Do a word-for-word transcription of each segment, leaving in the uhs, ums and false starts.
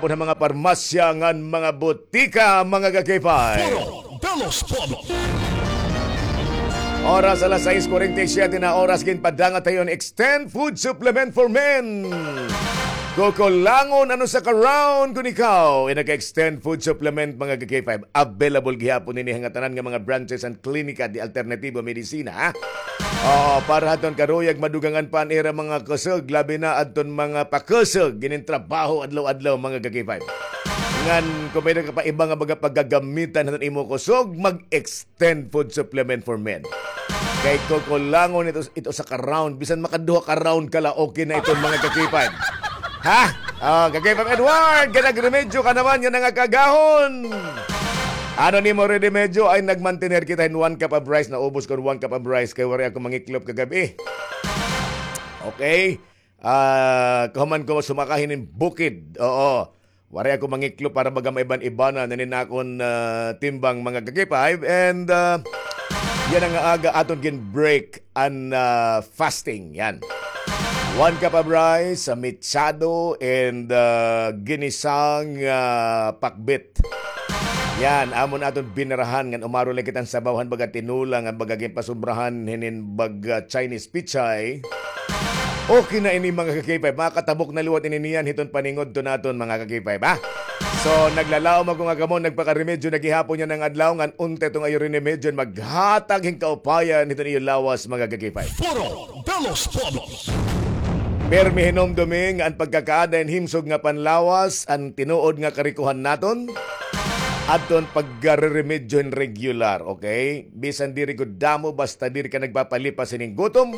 Pud ha mga parmasya ngan mga butika, mga ka-K five. Foro de los Pueblos. Oras alas sais kuwarenta y siyete na oras, ginpadangat ha iyo hin Extend Food Supplement for Men. Kukulangon an usa ka round kon ikaw in nag-Extend Food Supplement, mga ka-K five. Available gihapon ini nga tanan nga mga branches and klinika de alternatibo medisina, ha? Oo, para hadton karuyag madugangan pa an ira mga kusog, labi na adton mga pakusog ginin trabaho adlaw-adlaw, mga ka-K five. Ngan kon may-ada ka pa iba nga baga pagagamitan hadton imo kusog, mag-Extend Food Supplement for Men. Kay kukulangon ito, ito sa ka-round, bisan makaduha ka round ka la, okay na iton, mga ka-K five. Ha? Ah, ka-K five Edward, kay nagremedyo ka naman, yana nga kaagahon. Ano nimo riremedyo? Ay, nagmantener kita hin one cup of rice, naubos ko an one cup of rice, kay waray ako mangiklop kagab-i. Okay? Ah, kahuman ko sumaka hinin bukid. Oo. Waray ako mangiklop para baga maiban-ibanan hinin akon, ah, timbang, mga ka-K five. And, ah, yana nga aga aton gin-break an, ah, fasting. Yan. One cup of rice, ah, mechado, and, ah, ginisang, ah, pakbet. Yan, amon aton binarahan ngan umaro la kita hin sabaw han baga tinola ngan baga ginpasobrahan hinin baga Chinese pechay. Okay na ini, mga ka-K five. Makatabok na liwat ini niyan hiton paningudto naton, mga ka-K five, ha? So, naglalaom ako nga kamo nagpakaremedyo na gihapon yana nga adlaw, ngan unta iton iyo riremedyo maghatag hin kaupayan hiton iyo lawas, mga ka-K five. Foro de los Pueblos. Pirmi hinumdumi nga an pagkakaada hin himsog nga panlawas an tinuod nga karikohan naton. Adton pagriremedyo hin regular, okay? Bisan diri gud damo, basta diri ka nagpapalipas hinin gutom.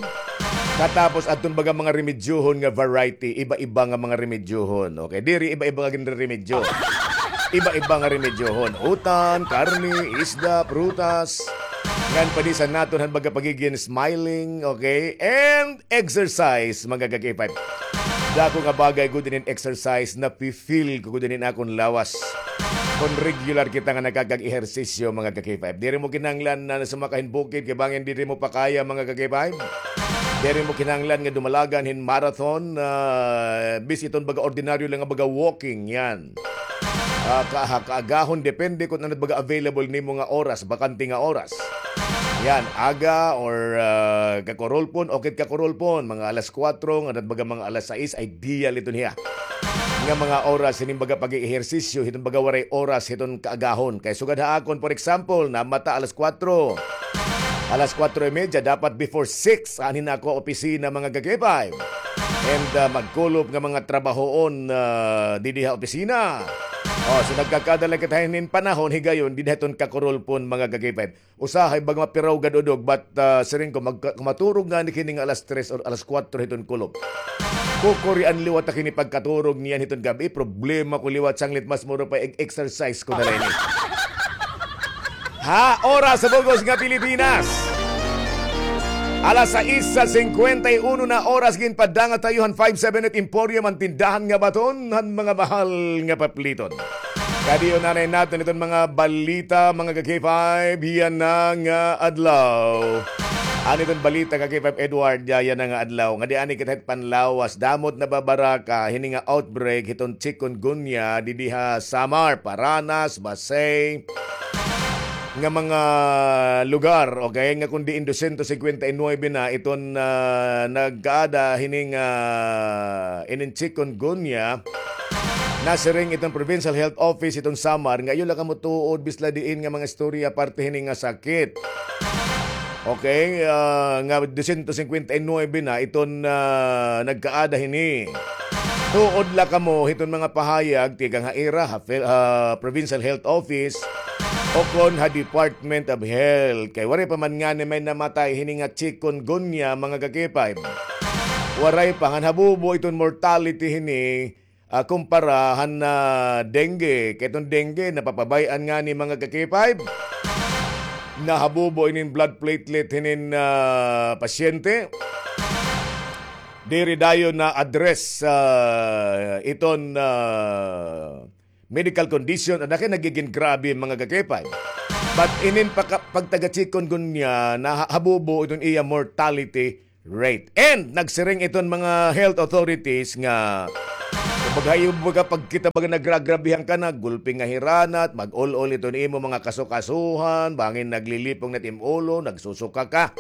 Katapos adton baga mga remedyohon nga variety, iba-iba nga mga remedyohon, okay? Diri iba-iba nga ginreremedyo. Iba-iba nga remedyohon. Utan, karne, isda, prutas. Ngan padisan naton han baga pagigin smiling, okay? And exercise, mga ka-K five. Dako nga bagay gud inin exercise, nafi-feel ko gud inin akon lawas. Kon regular kita nga nakakag-ehersisyo, mga ka-K five. Diri mo kinahanglan na sumaka hin bukid, kay bangin diri mo pa kaya, mga ka-K five. Diri mo kinahanglan nga dumalagan hin marathon, ah, bis iton baga ordinaryo lang nga baga walking, yan. Ah, ka-, ha, kaagahon, depende kon ano baga available nimo nga oras, bakante nga oras. Yan, aga or, ah, kakurulpon, okay, kakurulpon, mga alas kuwatro, ngan baga mga alas sais, ideal iton hiya. Nga mga oras, hinin baga pag-eehersisyo, hiton baga waray oras, hiton kaagahon. Kay sugad ha akon, for example, namata alas kuwatro. Alas kuwatro y medya, dapat before six, anhi na ako opisina, mga ka-K five. And, ah, magkulop nga mga trabahoon, ah, didi ha opisina. Oh, so nagkakada la kita hinin panahon, higayon, didi ha iton kakurulpon, mga ka-K five. Usahay baga mapiraw gad udog, but, ah, siring ko, magka-, maturog ngani kini nga alas tres or alas kuwatro hiton kulop. Kukurian liwat ta kini pagkaturog niyan hiton gab-i, problema ko liwat sanglit, mas mura pa ig-exercise ko na la ini. Ha oras sa bug-os nga Pilipinas. Alas sais sa singkwenta y uno na oras, ginpadangat ha iyo han five seven eight Emporium, an tindahan nga baton han mga mahal nga papliton. Kadi-on anay naton iton mga balita, mga ka-K five, yana nga adlaw. Ano iton balita, ka-K five Edward, ya-, yana nga adlaw? Ngadi anay kita hit panlawas, damo it nababaraka hini nga outbreak hiton chikungunya didi ha Samar, Paranas, Basey, nga mga lugar, okay, nga kon diin dosyentos singkwenta y nuwebe na iton, ah, nagkaada hini nga, ah, inin chikungunya, nasiring iton Provincial Health Office iton Samar nga iyo la kamo tuod bisan la diin nga mga istorya parte hini nga sakit. Okay, ah, nga dosyentos singkwenta y nuwebe na iton, ah, nagkaada hini. Tuod la kamo hiton mga pahayag tikang ha ira, ha Phil-, ha Provincial Health Office, o kon ha Department of Health. Kay waray pa man ngani may namatay hini nga chikungunya, mga ka-K five. Waray pa, ngan habubo iton mortality hini, ah, kumpara han, ah, dengue. Kay iton dengue, napapabay-an ngani, mga ka-K five. Nahabubo inin blood platelet hinin, ah, pasyente. Diri dayon na-address, ah, iton, ah, medical condition, an kay nagigin grabe, mga ka-K five. But inin pagka-, pagtaga-chikungunya, nahabubo iton iya mortality rate. And nagsiring iton mga health authorities nga Baga iyo, baga pagkita, baga nagragrabihan ka na, gulpi nga hiranat, mag-ul-ul iton imo mga kasukasuhan, bangin naglilipong na it im ulo, nagsusuka ka.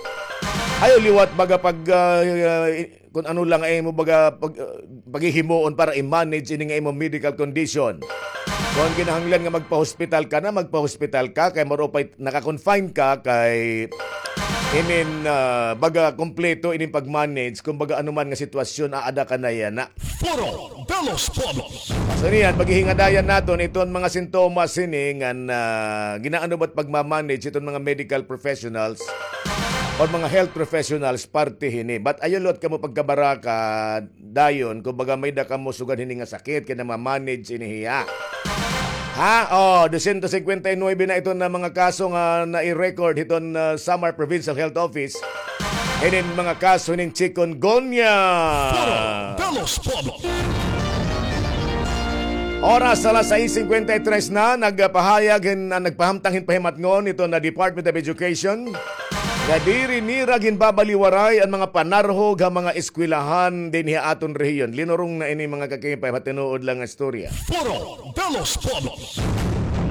Ayaw liwat, baga pag, ah, ah, kun ano lang ay imo, baga pag, ah, paghihimuon para i-manage ini nga imo medical condition. Kon kinahanglan nga magpa-hospital ka na, magpa-hospital ka, kay maro pay naka-confine ka, kay inin, ah, baga kompleto inin pag-manage, kumbaga ano man nga sitwasyon, aada ka na yana. Foro de los Pueblos. So niyan, paghihingadayan naton iton mga sintomas hini ngan, ah, ginaano ba it pagma-manage iton mga medical professionals or mga health professionals parte hini. But ayaw liwat kamo pagkabaraka dayon, kumbaga may-ada kamo sugad hini nga sakit, kay nama-manage ini hiya. Ha? Oh, dosyentos singkwenta y nuebe na iton na mga kaso nga nai-record hiton, ah, Samar Provincial Health Office. Hinin mga kaso hinin chikungunya. Foro de los Pueblos. Oras alas sais singkwenta y tres na, nagpahayag hin, ah, nagpahamtang hin pahimatngon iton na Department of Education nga diri nira ginbabaliwaray an mga panarhog ha mga eskwelahan dinhi ha aton rehiyon. Linurong na ini, mga kakipay, ha tinuod lang nga istorya. Foro de los Pueblos.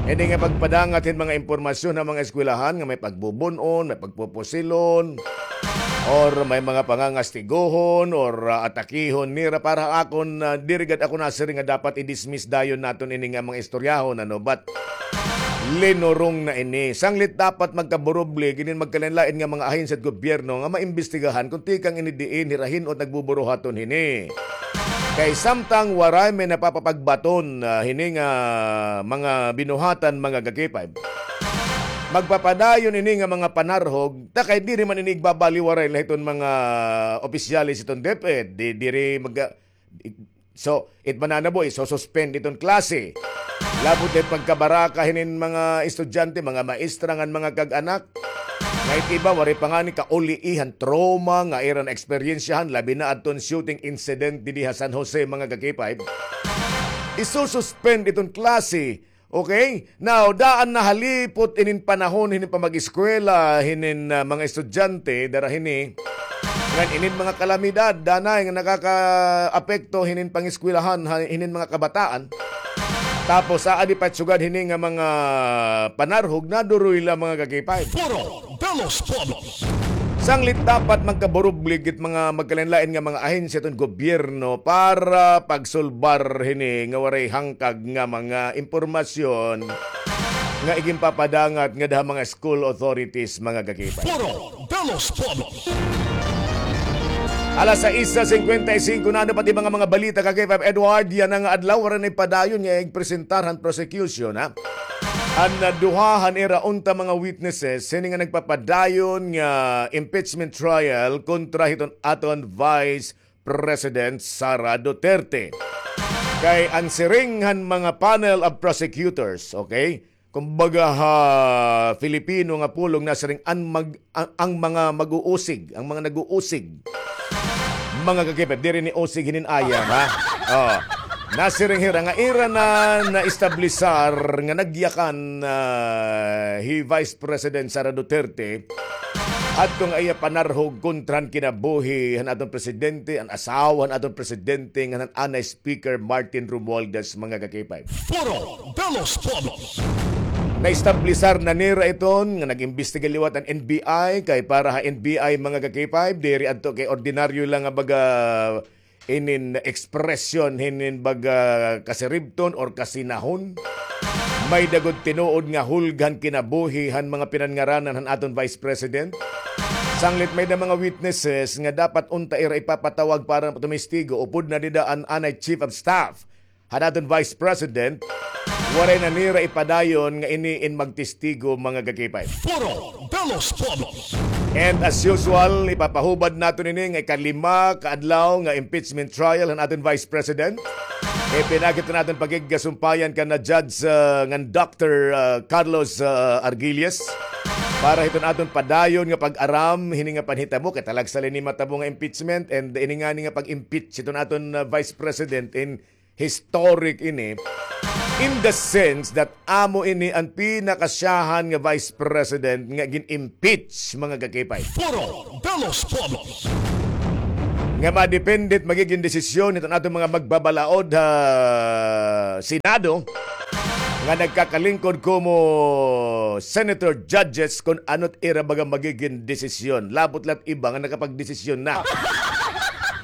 Ini nga pagpadangat hin mga impormasyon ha mga eskwelahan nga may pagbubun-on, may pagpupusilon, or may mga pangangastiguhon, or, ah, atakihon nira, para ha akon, ah, diri gad ako nasiring nga dapat i-dismiss dayon naton ini nga mga istoryahon, ano, but linurong na ini. Sanglit dapat magkaburublig inin magkalain-lain nga mga ahensya hit gobyerno nga maimbestigahan kon tikang ini diin hira hin-o it nagbuburuhaton hini. Kay samtang waray may napapapagbaton, ah, hini nga mga binuhatan, mga kakipay, magpapadayon ini nga mga panarhog, ta kay diri man ini igbabaliwaray la hiton mga opisyales hiton DepEd, di, diri mag-, so, it mananabo, iso-suspend iton klase. Labot it pagkabaraka hinin mga estudyante, mga maestra ngan mga kag-anak. Nga it iba, waray pa ngani kauliihan, trauma nga ira na-eksperyensyahan, labi na adton shooting incident didi ha San Jose, mga kakipay. Iso-suspend iton klase. Okay? Now, daan nahalipot inin panahon, hinin pamag-eskwela, hinin, ah, mga estudyante, dara hini. Ngan inin mga kalamidad, danay nga nakakaapekto hinin pangeskwelahan, ha, hinin mga kabataan. Tapos, aadi pa it sugad hini nga mga panarhog, naduroy la, mga kakipay. Foro de los Pueblos. Sanglit dapat magkaburublig it mga magkalain-lain nga mga ahensya hiton gobyerno para pagsulbar hini nga waray hangkag nga mga impormasyon nga iginpapadangat ngada ha mga school authorities, mga kakipay. Foro de los Pueblos. Alas sais singkwenta y singko na, ano pa it mga, mga balita, kakipay Edward, yana nga adlaw, waray na ipadayon nga igpresentar han prosecution, ha? An, ah, duha han ira unta mga witnesses hini nga nagpapadayon nga impeachment trial kontra hiton aton Vice President Sara Duterte. Kay an siring han mga panel of prosecutors, okay? Kumbaga ha Filipino nga pulong nasiring an mag-, ang, ang mga mag-uusig, ang mga nag-uusig. Mga kakipay, diri ni usig hinin ayam, ha? Oh. Nasiring hira nga ira na naestablisar nga nagyakan, ah, hi Vice President Sara Duterte adto nga iya panarhog kontra han kinabuhi han aton presidente, an asawa han aton presidente, ngan han anay Speaker Martin Romualdez, mga kakipay. Foro de los Pueblos. Naestablisar na nira iton nga nag-imbestiga liwat an N B I, kay para ha N B I, mga kakipay, diri adto kay ordinaryo lang nga baga inin ekspresyon hinin baga kasiribton or kasinahon. May-ada gud tinuod nga hulga han kinabuhi han mga pinanngaranan han aton Vice President. Sanglit may-ada mga witnesses nga dapat unta ira ipapatawag para tumistigo, upod na dida an anay Chief of Staff han aton Vice President, waray na nira ipadayon nga ini in magtestigo, mga kakipay. Foro de los Pueblos. And as usual, ipapahubad naton ini nga ikalima ka adlaw nga impeachment trial han aton Vice President. Ipinakita naton pakigkasumpayan kan na Judge, ah, ngan Doctor, ah, Carlos, ah, Argilles para hiton aton padayon nga pag-aram hini nga panhitabo, kay talagsa la ini matabo nga impeachment, and ini ngani nga pag-impeach hiton aton, ah, Vice President in historic ini, in the sense that amo ini an pinakasyahan nga Vice President nga gin-impeach, mga kakipay. Foro de los Pueblos. nga madepende it magigin desisyon hiton aton mga magbabalaod ha Senado nga nagkakalingkod komo senator judges kon ano it ira baga magigin desisyon. Labot la it iba nga nakapagdesisyon na.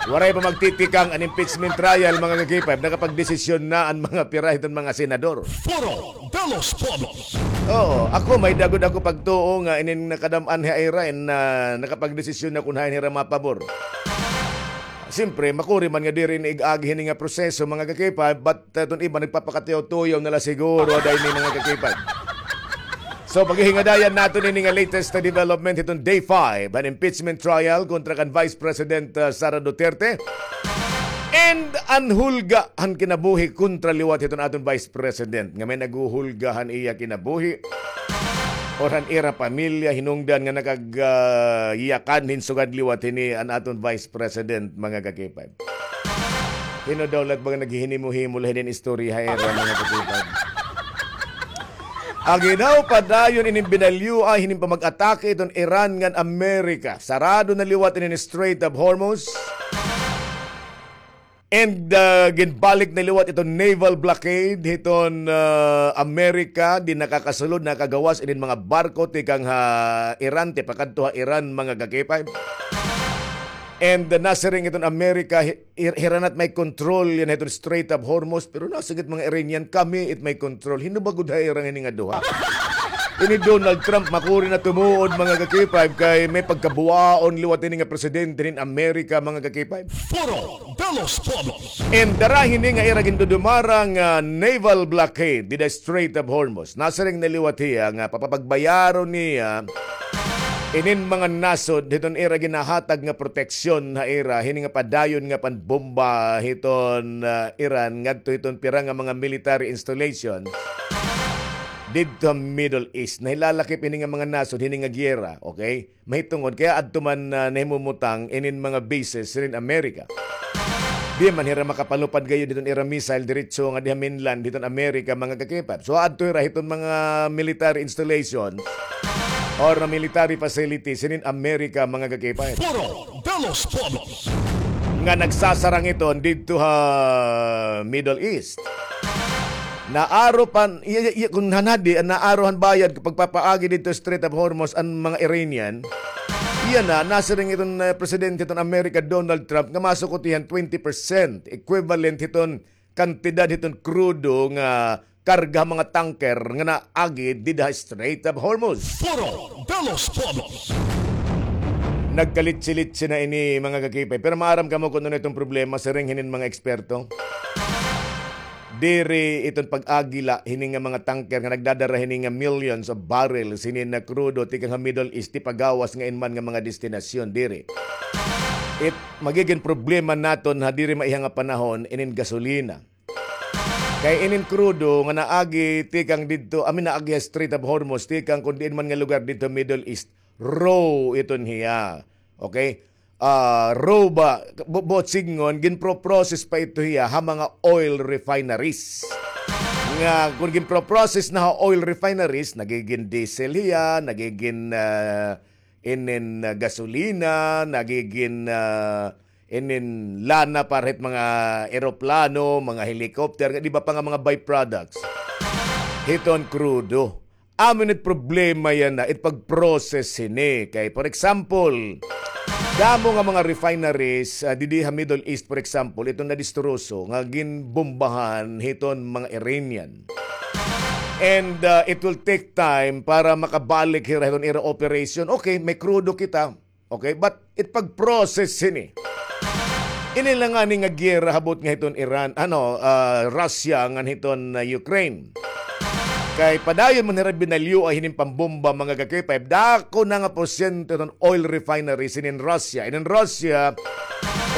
Waray pa magtitikang an impeachment trial, mga ka-K five, nakapagdesisyon na an mga pira hiton mga senador. Foro de los Pueblos. Oo, ako may dagod ako pagtuo nga inin nakadam-an ha ira in, ah, nakapagdesisyon na kon hain hira mapabor. Siyempre, makuri man nga diri na ig-agi hini nga proseso, mga ka-K five, but, ah, iton iba nagpapakatuyaw-tuyaw na la siguro, ada ini, mga ka-K five. So, paghihingadayan naton ini nga latest na development hiton day five han impeachment trial kontra kan Vice President, ah, Sara Duterte. And an hulga han kinabuhi kontra liwat hiton aton Vice President nga may naghuhulga han iya kinabuhi or han ira pamilya hinungdan nga nakag, ah, yakan hin sugad liwat hini an aton Vice President, mga ka-K five. Hin-o daw la it baga naghihinimo-himo la hinin istorya ha ira, mga ka-K five. Agi daw padayon inin binalyua hinin pamag-atake hiton Iran ngan Amerika. Sarado na liwat inin Strait of Hormuz. And, ah, ginbalik na liwat iton naval blockade hiton, ah, Amerika, di nakakasulod, nakagawas inin mga barko tikang ha Iran, tipakadto ha Iran, mga ka-K five. And, ah, nasiring iton Amerika, hi-, hir-, hira na it may control yana hiton Strait of Hormuz, pero nasiring it mga Iranian, kami it may control. Hin-o ba gud ha ira ini nga duha? Ini Donald Trump, makuri na tumuod, mga ka-K five, kay may pagkabuwaon liwat ini nga presidente hin Amerika, mga ka-K five. Foro de los Pueblos. And dara hini nga ira gindudumara nga naval blockade dida Strait of Hormuz. Nasiring na liwat hiya nga papapagbayaron niya inin mga nasod hiton ira ginahatag nga proteksyon ha ira, hini nga padayon nga panbomba hiton, ah, Iran ngadto hiton pira nga mga military installations didto ha Middle East. Nahilalakip ini nga mga nasod hini nga giyera, okay? Mahitungod kay adto man, ah, nahimumutang inin mga bases hinin Amerika. Di man hira makapalupad gayod hiton ira missile diretso nga diha mainland hiton Amerika, mga ka-K five. So, adto hira hiton mga military installation or military facilities hinin Amerika, mga ka-K five. Foro de los Pueblos. Nga nagsasarang iton didto ha Middle East. Naaro pan, iya, iya, iya, kon hanadi, an naaro han bayad pagpapaagi didto Strait of Hormuz an mga Iranian, iya na, nasiring iton, eh, presidente hiton Amerika, Donald Trump, nga masukot hiya han twenty percent, equivalent hiton kantidad hiton krudo nga karga ha mga tanker nga naagi dida ha Strait of Hormuz. Foro de los Pueblos. Nagkalitsi-litsi na ini, mga ka-K five. Pero maaram kamo kon ano iton problema, siring hinin mga eksperto. Diri iton pag-agi la hini nga mga tanker nga nagdadara hini nga millions of barrels hini nga krudo tikang ha Middle East tipagawas nga inman nga mga destinasyon, diri. It magigin problema naton ha diri maiha nga panahon inin gasolina. Kay inin krudo nga naagi tikang didto, I mean, naagi ha Strait of Hormuz, tikang kon diin man nga lugar didto Middle East, raw iton hiya. Okay? Ah, raw ba, bu-, buot sidngon, ginpro-process pa ito hiya ha mga oil refineries. Nga, kon ginpro-process na ha oil refineries, nagigin diesel hiya, nagigin, ah, inin, ah, gasolina, nagigin, ah, inin lana para hit mga eroplano, mga helicopter, di ba pa nga mga byproducts hiton krudo. Amo it problema yana, it pag-process hini. Kay, for example, damo nga mga refineries, ah, didi ha Middle East, for example, iton nadistroso nga ginbombahan hiton mga Iranian. And, ah, it will take time para makabalik hira hiton ira operation. Okay, may krudo kita. Okay, but it pag-process hini. Ini la ngani nga giyera ha buot nga hiton Iran, ano, ah, Russia ngan hiton, ah, Ukraine. Kay padayon man hira binalyua hinin pambomba, mga ka-K five, dako na nga porsyento hiton oil refineries hinin Russia. Inin Russia,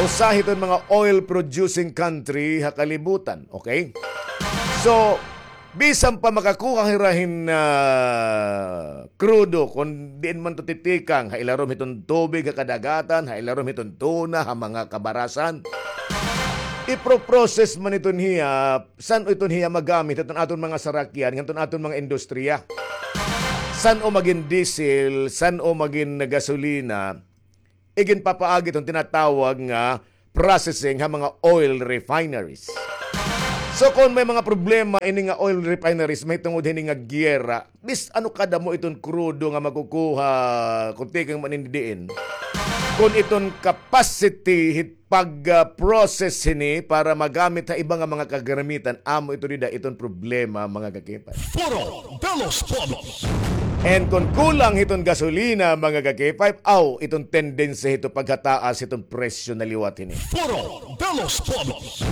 usa hiton mga oil producing country ha kalibutan, okay? So, bisan pa makakuha hira hin, ah, krudo, kon diin man to titikang, ha ilarom hiton tubig, ha kadagatan, ha ilarom hiton tuna, ha mga kabarasan. Ipro-process man iton hiya, san-o iton hiya magamit hiton aton mga sarakyan, ngadton aton mga industriya. San-o magin diesel, san-o magin gasolina, iginpapaagi iton tinatawag nga processing ha mga oil refineries. So, kon may mga problema ini nga oil refineries mahitungod hini nga giyera, bis ano kadamo iton krudo nga makukuha kon tikang man ini diin, kon iton capacity hit pag-process hini para magamit ha iba nga mga kagaramitan, amo ito dida iton problema, mga kakipay. Foro de los Pueblos. And kon kulang hiton gasolina, mga kakipay, aw, iton tendency hito paghataas hiton presyo na liwat hini. Foro de los Pueblos.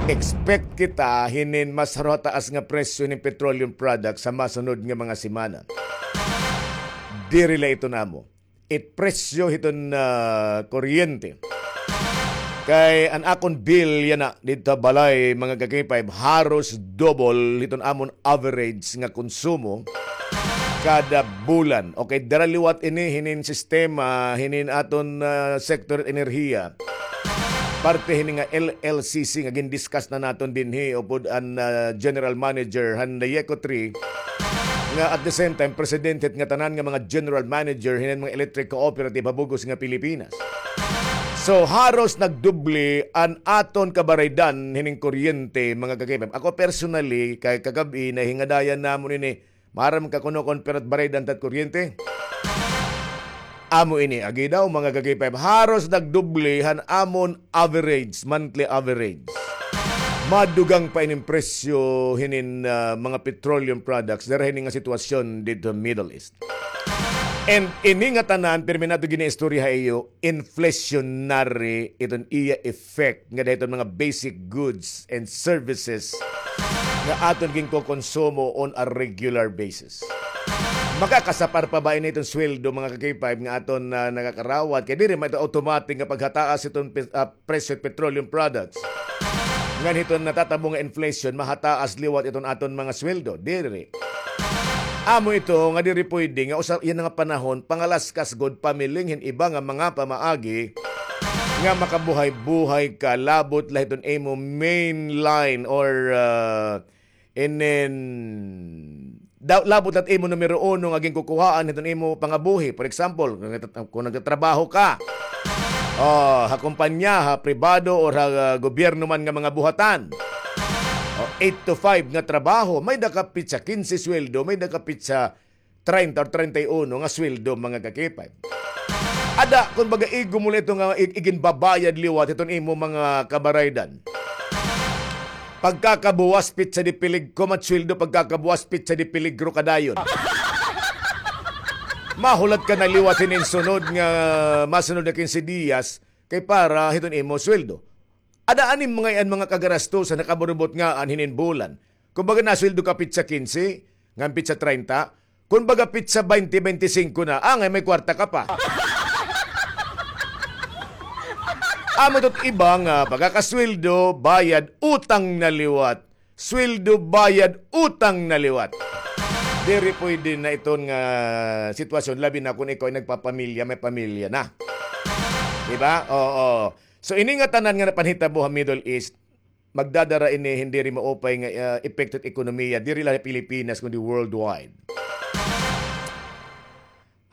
Expect kita hinin mas haro hataas nga presyo hinin petroleum products sa masunod nga mga semana. Diri la ito namo. It presyo hiton, ah, kuryente. Kay an akon bill yana didto ha balay, mga kakipay, haros double hiton amon average nga konsumo kada bulan. Okay, dara liwat ini hinin sistema, hinin aton, ah, sektor enerhiya. Parte hini nga L L C C nga gindiscuss na naton dinhi upod an, ah, general manager han Dayeco three, nga at the same time president hit nga tanan nga mga general manager hinin mga electric cooperative ha bug-os nga Pilipinas. So, haros nagdoble an aton kabaraydan hinin kuryente, mga kakipay. Ako personally, kay kagab-i, nahingadayan namon ini. Maaram ka kuno kon pira it baraydan ta hit kuryente? Amo ini, agi daw, mga kakipay. Haros nagdoble han amon average, monthly average. Madugang pa inin presyo hinin, ah, mga petroleum products dara hini nga sitwasyon didto Middle East. And ini nga tanan, pirmi nato ginaistorya ha iyo, inflationary iton iya effect nga dida hiton mga basic goods and services nga aton ginkokonsumo on a regular basis. Makakasapar pa ba ini hiton sweldo, mga ka-K five, nga aton, ah, nakakarawat? Kay diri man ito automatic nga paghataas hiton pis-, ah, presyo hit petroleum products. Ngan hiton natatabo nga inflation, mahataas liwat iton aton mga sweldo. Diri. Amo ito nga diri pwede nga usa yana nga panahon, pangalaskas gud, pamiling hin iba nga mga pamaagi nga makabuhay-buhay ka, labot la hiton imo main line or, ah, inin, da-, labot la it imo numero uno nga ginkukuhaan hiton imo pangabuhi. For example, kung nagtat-, kung nagtatrabaho ka, oh, ha kumpanya, ha pribado, or ha, ah, gobyerno man nga mga buhatan. Oh, eight to five nga trabaho, may-ada ka pitsa kinse sweldo, may-ada ka pitsa treinta or treinta y uno nga sweldo, mga ka-K five. Ada, kumbaga, igo mo la ito nga ig-, iginbabayad liwat hiton imo mga kabaraydan. Pagkakabuwas, pitsa de peligro, kumat sweldo, pagkakabuwas, pitsa de peligro ka dayon. Mahulat ka na liwat hinin sunod nga, masunod nga kinse diyas, kay para hiton imo sweldo. Ada ani mga iyan mga kagarastusan nakaburubot ngan hinin bulan. Kumbaga, nasweldo ka pitsa kinse, ngan pitsa treinta. Kumbaga, pitsa baynte, baynte singko na. Angay, may kwarta ka pa. Amo ito it iba nga pagkakasweldo, bayad, utang na liwat. Sweldo, bayad, utang na liwat. Diri pwede na iton nga sitwasyon, labi na kon ikaw ay nagpapamilya, may pamilya na. Di ba? Oo. So, ini nga tanan nga napanhitabo ha Middle East, magdadara ini hin diri maupay nga, ah, epekto hit ekonomiya, diri la ha Pilipinas, kundi worldwide.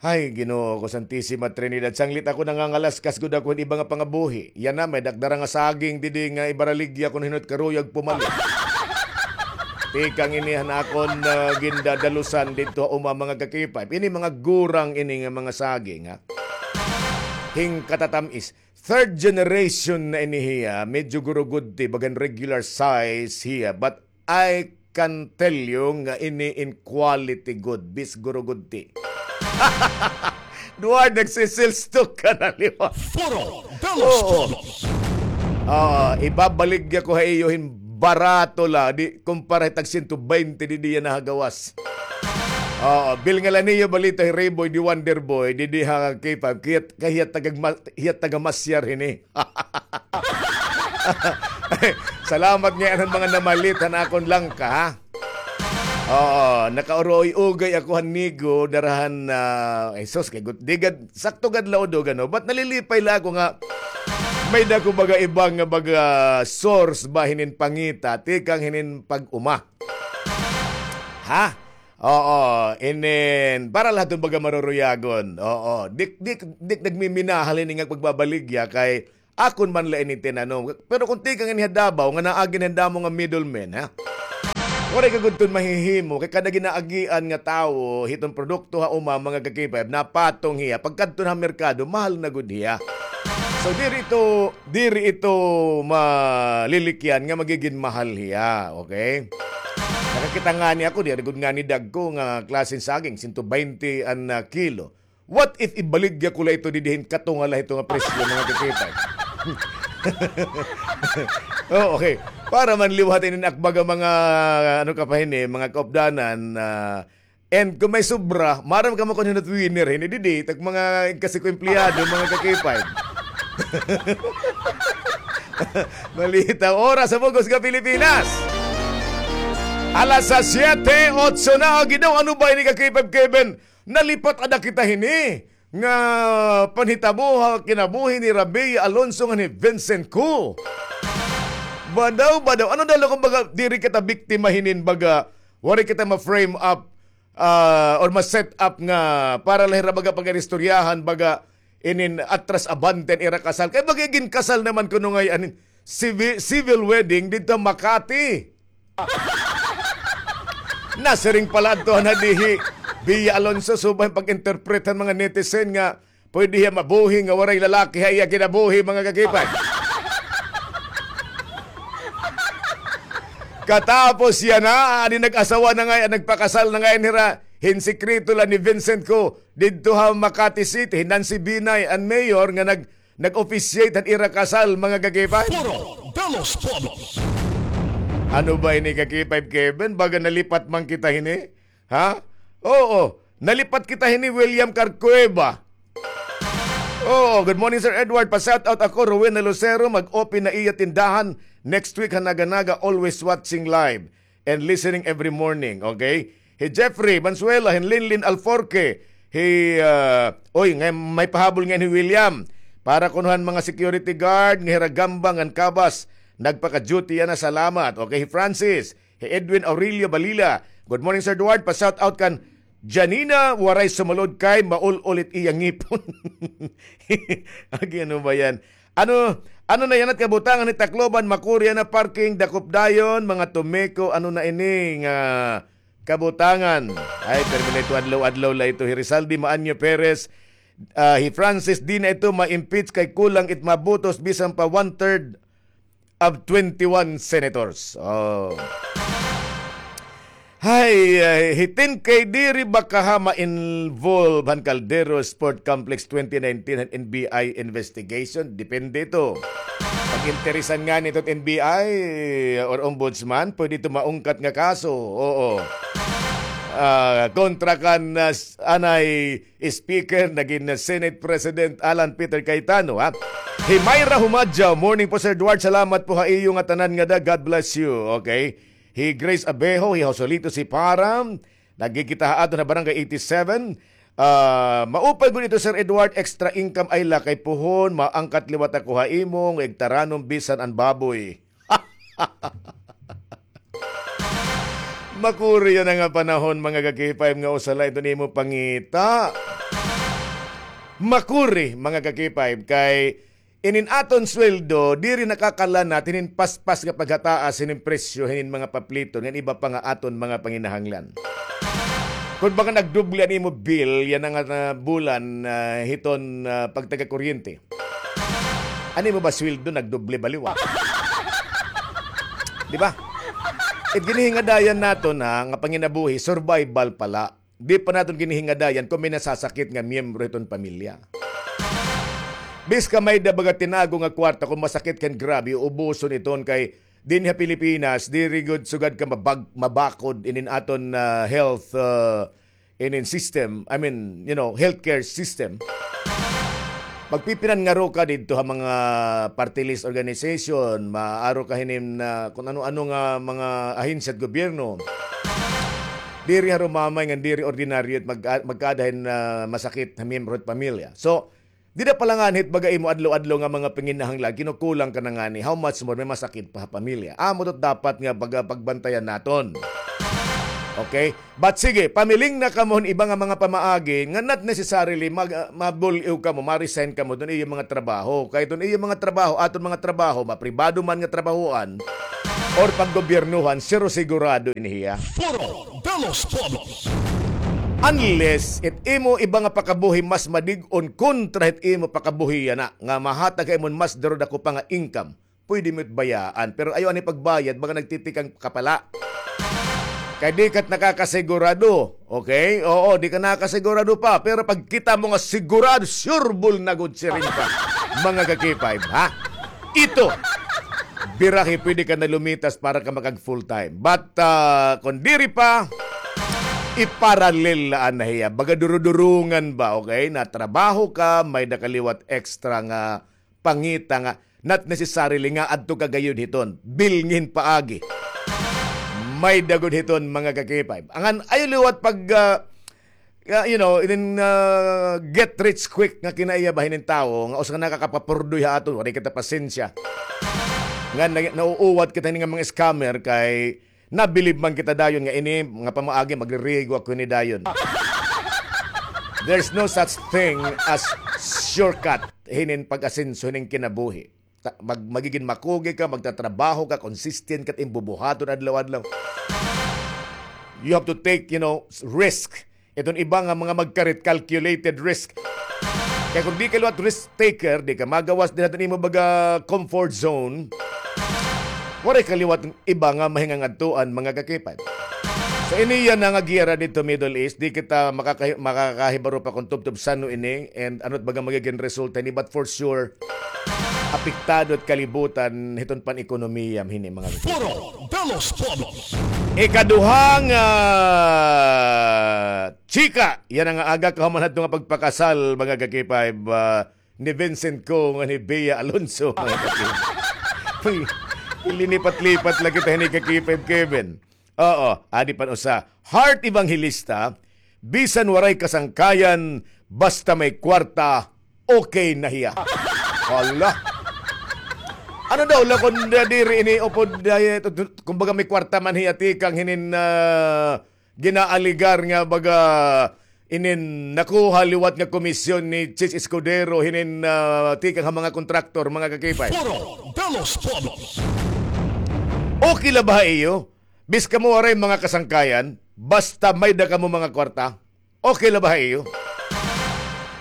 Hay, Ginoo ko, Santisima Trinidad, sanglit ako nangangalaskas gud ako hin iba nga pangabuhi. Yana, may-ada ak dara nga saging didi nga ibaraligya ko hin hino't karuyag pumalit. Tikang ini han akon, ah, gindadalusan didto ha uma, mga ka-K five. Ini mga gurang ini nga mga saging, ha? Hin katatamis. Third generation na ini hiya, medyo gurugudti, bagan regular size hiya, but I can tell you nga ini in quality good, bis gurugudti. Duwar nagsisilstok ka na liwat. Foro de los Pueblos. Ah, ibabaligya ko ha iyo hin barato la, di, kumpara hit tag siyento baynte didi yana ha gawas. Oo, bilngalan niyo balita hi Rayboy the Wonder Boy, didi ha K five, kay, kay hiya taga ma-, hiya taga Masyar hini. Salamat ngay-an han mga namalit han akon langka, ha? Oo, nakauroy-ugay ako han nigo, dara han, ah, ay sus, kay gut-, di gad, sakto gad la udo, gano? But nalilipay la ako nga may-ada ko baga iba nga baga source ba hinin pangita, tikang hinin pag-uma. Ha? Oo, inin, para la hiton baga maruruyagon. Oo, dik, dik, dik nagmiminahal ini nga pagbabaligya kay akon man la ini tinanom. Pero kon tikang ini ha Davao, nga naagi ini ha damo nga middleman, ha? Waray ka gud ton mahihimo, kay kada ginaagian nga tawo, hiton produkto ha uma, mga ka-K five, napatong hiya. Pagkadto na ha merkado, mahal na gud hiya. So, diri ito, diri ito malilikyan nga magigin mahal hiya, okay? Nakakita ngani ako, diri gud ngani dagko nga klaseng saging, sento baynte an, ah, kilo. What if ibaligya ko la ito didi hin katunga la hito nga presyo, mga ka-K five? Oh, okay. Para man liwat inin akbaga mga, ano ka pa hini, mga kaupdanan, ah, and kung may sobra, maaram ka man kon hin-o it winner hini didi, it ak mga igkasi ko empleyado, mga ka-K five. Balita, oras sa bug-os nga Pilipinas. Alas siyete otso na, Ginoo, ano ba ini, ka-K five Kevin? Nalipat ada kita hini nga panhitabo ha kinabuhi ni Rabi Alonso ngan ni Vincent Ku. Badaw, badaw. Ano daw la kon baga diri kita biktima hinin, baga waray kita ma-frame up, ah, or ma-set up nga para la hira baga pag-iristoryahan baga inin atras abante an ira kasal. Kay baga ginkasal naman kuno ngay-an, civi-, civil wedding didto Makati. Nasiring pa la adto han hadihi, Bia Alonso, subay pag-interpret han mga netizen nga pwede hiya mabuhi nga waray lalaki ha iya kinabuhi, mga ka-K five. Katapos yana, adi nag-asawa na ngay-an, nagpakasal na ngay-an hira hin sikreto la ni Vincent Ku didto ha Makati City, hi Nancy Binay, an mayor nga nag-, nag-officiate han ira kasal, mga ka-K five. Foro de los Pueblos. Ano ba ini, ka-K five Kevin? Baga nalipat man kita hini? Ha? Oo, nalipat kita hini, William Carcueva. Oo, good morning, Sir Edward. Pa-shout out ako, Rowena Lucero, mag-open na iya tindahan next week ha Naga-Naga, always watching live and listening every morning, okay? Hi Jeffrey Mansuela, hin Linlin Alforque, hi, ah, oy, ngay-an may pahabol ngay-an hi William. Para kuno han mga security guard nga hira Gamba ngan Cabas, nagpaka-duty yana, salamat. Okay, hi Francis, hi Edwin Aurelio Balila. Good morning, Sir Edward. Pa-shout out kan Janina, waray sumulod kay maul-ul it iya ngipon. Agi, ano ba yan? Ano, ano na yana it kabutangan hit Tacloban, makuri yana parking, dakop dayon, mga tumiko, ano na ini nga kabutangan? Ay, permi la ito, adlaw-adlaw la ito. Hi Rizaldi Maanyo Perez, ah, hi Francis, di na ito ma-impeach kay kulang it mga botos, bisan pa one-third of twenty-one senators. Oh. Hay, ay, hitin kay diri ba kaha ma-involve han Caldero Sport Complex twenty nineteen han N B I investigation? Depende ito. Pag-interesan ngani ito N B I or ombudsman, pwede ito maungkat nga kaso. Oo. Ah, kontra kan, ah, s-, anay Speaker, nagin Senate President Alan Peter Cayetano, ha? Hi Myra Humadjaw, morning po, Sir Edward. Salamat po ha iyo nga tanan nga da. God bless you. Okay. Hi Grace Abejo, hi Joselito Sipara, nagkikita ha aton ha Barangay eighty-seven. Ah, maupay gud ito, Sir Edward, extra income ay la kay puhon, maangkat liwat ako ha imo nga igtaranom bisan an baboy. Makuri yana nga panahon, mga ka-K five, nga usa la ito nimo pangita. Makuri, mga ka-K five, kay inin aton sweldo, diri nakakalanat hinin paspas nga paghataas hinin presyo hinin mga papliton ngan iba pa nga aton mga panginahanglan. Kon baga nagdoble an imo bill yana nga, ah, bulan, ah, hiton, ah, pagtaga kuryente. An imo ba sweldo nagdoble ba liwat? Di ba? It ginhingadayan naton, ha, nga panginabuhi, survival pa la. Di pa naton ginhingadayan kon may nasasakit nga miyembro hiton pamilya. Bisan ka may-ada baga tinago nga kwarta, kon masakit ka hin grabe, uubuson iton kay dinhi ha Pilipinas, diri gud sugad ka mabag-, mabakod inin aton, ah, health, ah, inin system, I mean, you know, healthcare system. Magpipinangaro ka didto ha mga party list organization, maaro ka hinin, ah, kon ano-ano nga mga ahensya hit gobyerno. Diri harumamay ngan diri ordinaryo it mag-, magkaada hin, ah, masakit ha miyembro hit pamilya. So, dida pa la ngani hit baga imo adlaw-adlaw nga mga panginahanglan, kinukulang ka na ngani, how much more may masakit pa ha pamilya. Amo ito dapat nga baga pagbantayan naton. Okay? But sige, pamiling na kamo hin iba nga mga pamaagi nga not necessarily mag, ah, mabul-iw kamo, ma-resign kamo don iyo mga trabaho. Kay don iyo mga trabaho, aton mga trabaho, mapribado man nga trabahoan or paggobyernohan, siro sigurado ini hiya. Foro de los Pueblos. Unless it imo iba nga pakabuhi mas madig-on kontra hit imo pakabuhi yana, nga mahatag ha imo hin mas duro dako pa nga income. Pwede mo it bayaan, pero ayaw ani pagbayad, mga nagtitikang kapala. Kay di ka nakakasigurado, okay? Oo, di ka nakakasigurado pa, pero pag kita mo nga sigurado, sure ball na gud siring ka, mga ka-K five, ha? Ito, birahi, pwede ka na lumitas para ka makag full time. But, ah, kung diri pa, iparallel la anay hiya. Baga durudurungan ba, okay? Na trabaho ka, may-ada ka liwat extra nga pangita nga not necessarily nga adto ka gayod hiton, bilngi hin paagi. May-ada gud hiton, mga ka-K five. Angan, ayaw liwat pag, ah, ah, you know, inin, ah, get rich quick nga kinaiya ba hinin tawo, nga usa nga nakakapapurdoy ha aton, waray kita pasensya. Nga na-, nauuwat kita hini nga mga scammer kay nabilib man kita dayon nga ini nga pamaagi, magririgo ako hini dayon. There's no such thing as shortcut hinin pag-asenso hinin kinabuhi. Ta-, mag-, magigin makugi ka, magtatrabaho ka, consistent ka, it im bubuhaton adlaw-adlaw. You have to take, you know, s-, risk. Iton iba nga mga magkarit, calculated risk. Kay kung di ka liwat risk taker, di ka magawas dinhi ha imo baga comfort zone, waray ka liwat iba nga mahingangadtuan, mga ka-K five. So, ini yana nga giyera didto Middle East, di kita makakahi-, makakahibaro pa kung tubtob san-o ini, and ano it baga magigin resulta hini, but for sure, apektado it kalibutan hiton pan-ekonomiya hini, mga ka-K five. Foro de los Pueblos. Ikaduha nga chika, yana nga aga kahuman hadto nga pagpakasal, mga ka-K five, ah, ni Vincent Co ngan ni Bea Alonzo, mga ka-K five. Linipat-lipat la kita hini, ka-K five Kevin. Oo, adi pa an usa. Heart Evangelista, bisan waray kasangkayan, basta may kwarta, okay na hiya. Hala. Ano daw la kon diri ini upod, ah, kumbaga may kwarta man hiya tikang hinin, ah, ginaaligar nga baga inin nakuha liwat nga komisyon ni Chiz Escudero hinin, ah, tikang ha mga kontraktor, mga ka-K five. Foro de los Pueblos. Okay la ba ha iyo? Bis kamo waray mga kasangkayan, basta may-ada kamo mga kwarta. Okay la ba ha iyo?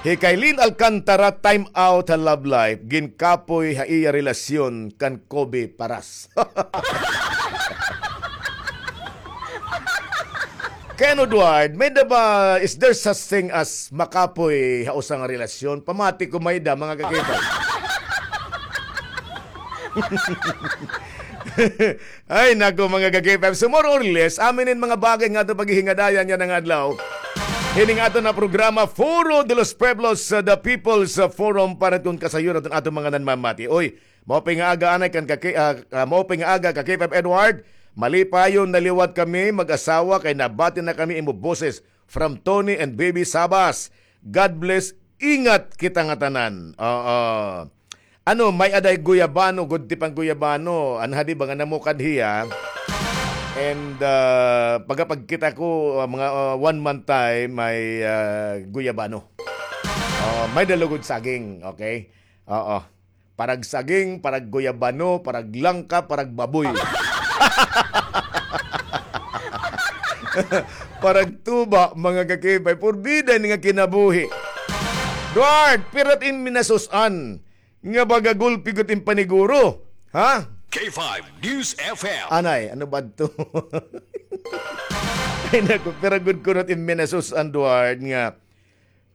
Hi Kailin Alcantara, time out ha love life, ginkapoy ha iya relasyon kan Kobe Paras. Kay ano, Edward, may-ada ba, is there such thing as makapoy ha usa nga relasyon? Pamati ko may-ada, mga ka-K five. Ay, naku, mga ka-K five. So, more or less, amo ini an mga bagay nga aton paghihingadayan yana nga adlaw. Hini nga aton nga programa, Foro de los Pueblos, uh, the People's, uh, Forum, para kon kasayuran aton, aton mga nanmamati. Oy, maupay nga aga anay kan ka-, ah, ah, maupay nga aga ka-K five Edward. Malipayon na liwat kami mag-asawa kay nabati na kami imo boses. From Tony and Baby Sabas. God bless. Ingat kita ngatanan. Oo. Ano, may-ada guyabano, gud tipang guyabano. Anha di ba nga namukad hiya? And, ah, pagkapagkita ko, ah, mga, ah, one month time, may, ah, guyabano. Oh, may-ada lugod saging, okay? Oo. Parag saging, parag guyabano, parag langka, parag baboy. Parag tuba, mga ka-K five. Purbida ini nga kinabuhi. Edward, pira it im minasus-an nga baga gulpi gud it im paniguro. Ha? K five News F M. Anay, ano ba ito? Ay, naku, pira gud kuno it im minasus-an, Edward, nga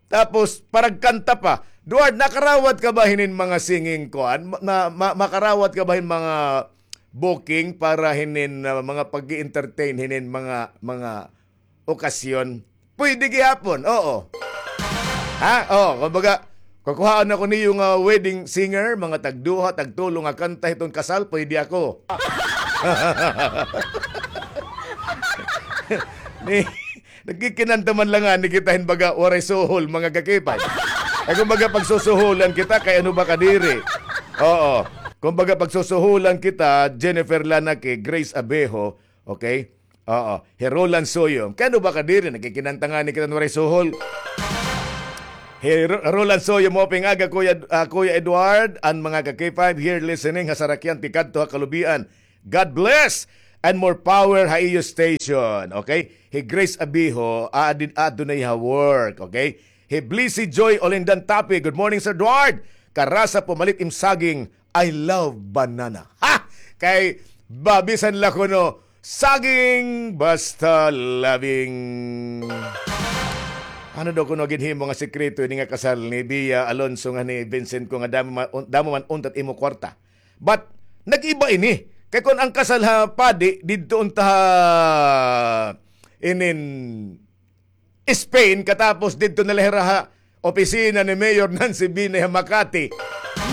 Tapos, paragkanta pa. Edward, nakarawat ka ba hinin mga singing kuan? Ma-, na, ma-, makarawat ka ba hin mga booking para hinin, ah, mga pag-i-entertain hinin mga, mga okasyon? Pwede gihapon, oo. Ha? Oh, kumbaga, kukuhaon ako niyo nga wedding singer, mga tagduha, tagtulo nga kanta hiton kasal, pwede ako. Ni, Nagkikinanta man la ngani kita hin baga waray suhol, mga ka-K five. Ay, kumbaga, pagsusuhulan kita, kay ano ba kadiri? Oo. Kumbaga, pagsusuhulan kita, Jennifer Lanake, Grace Abejo, okay? Oo, hi Roland Soyo. Kay ano ba ka diri, nagkikinanta ngani kita waray suhol. Hi Ro-, Roland Soyo, maupay nga aga, Kuya, ah, Kuya Edward, an mga ka-K five here listening ha sarakyan tikadto ha kalubian. God bless and more power ha iyo station. Okay? Hi Grace Abiho, ah, din, ah, dunay ha work. Okay? Hi Blissy Joy Olindan Tapi, good morning, Sir Edward. Karasa pumalit im saging, I love banana. Ha! Kay babisan la kuno, saging basta loving. Ano daw kuno ginhimo nga sekreto ini nga kasal ni Bia Alonso nga ni Vincent ko nga damo man, un-, damo man untat imo kwarta? But nag-iba ini. Kay kun ang kasal ha padi didto unta ha inin Spain, katapos didto na la hira ha opisina ni Mayor Nancy Binay ha Makati.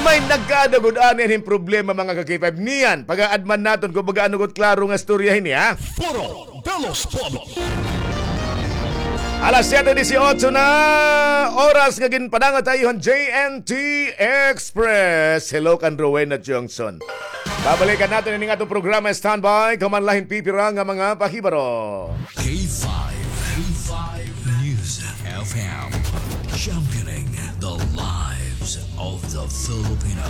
May nagkaada gud ani hin problema, mga ka-K five. Niyan, pag-aadman naton kun baga ano gud klaro nga istorya hini, ha? Foro de los Pueblos. Alas siyete dieciocho na oras nga ginpadangat ha iyo han J N T Express. Hello kan Rowena Johnson. Babalikan naton ini nga atong programa. Standby, kaman la hin pipira nga mga pahibaro. K five, K five News F M. Championing the lives of the Filipino.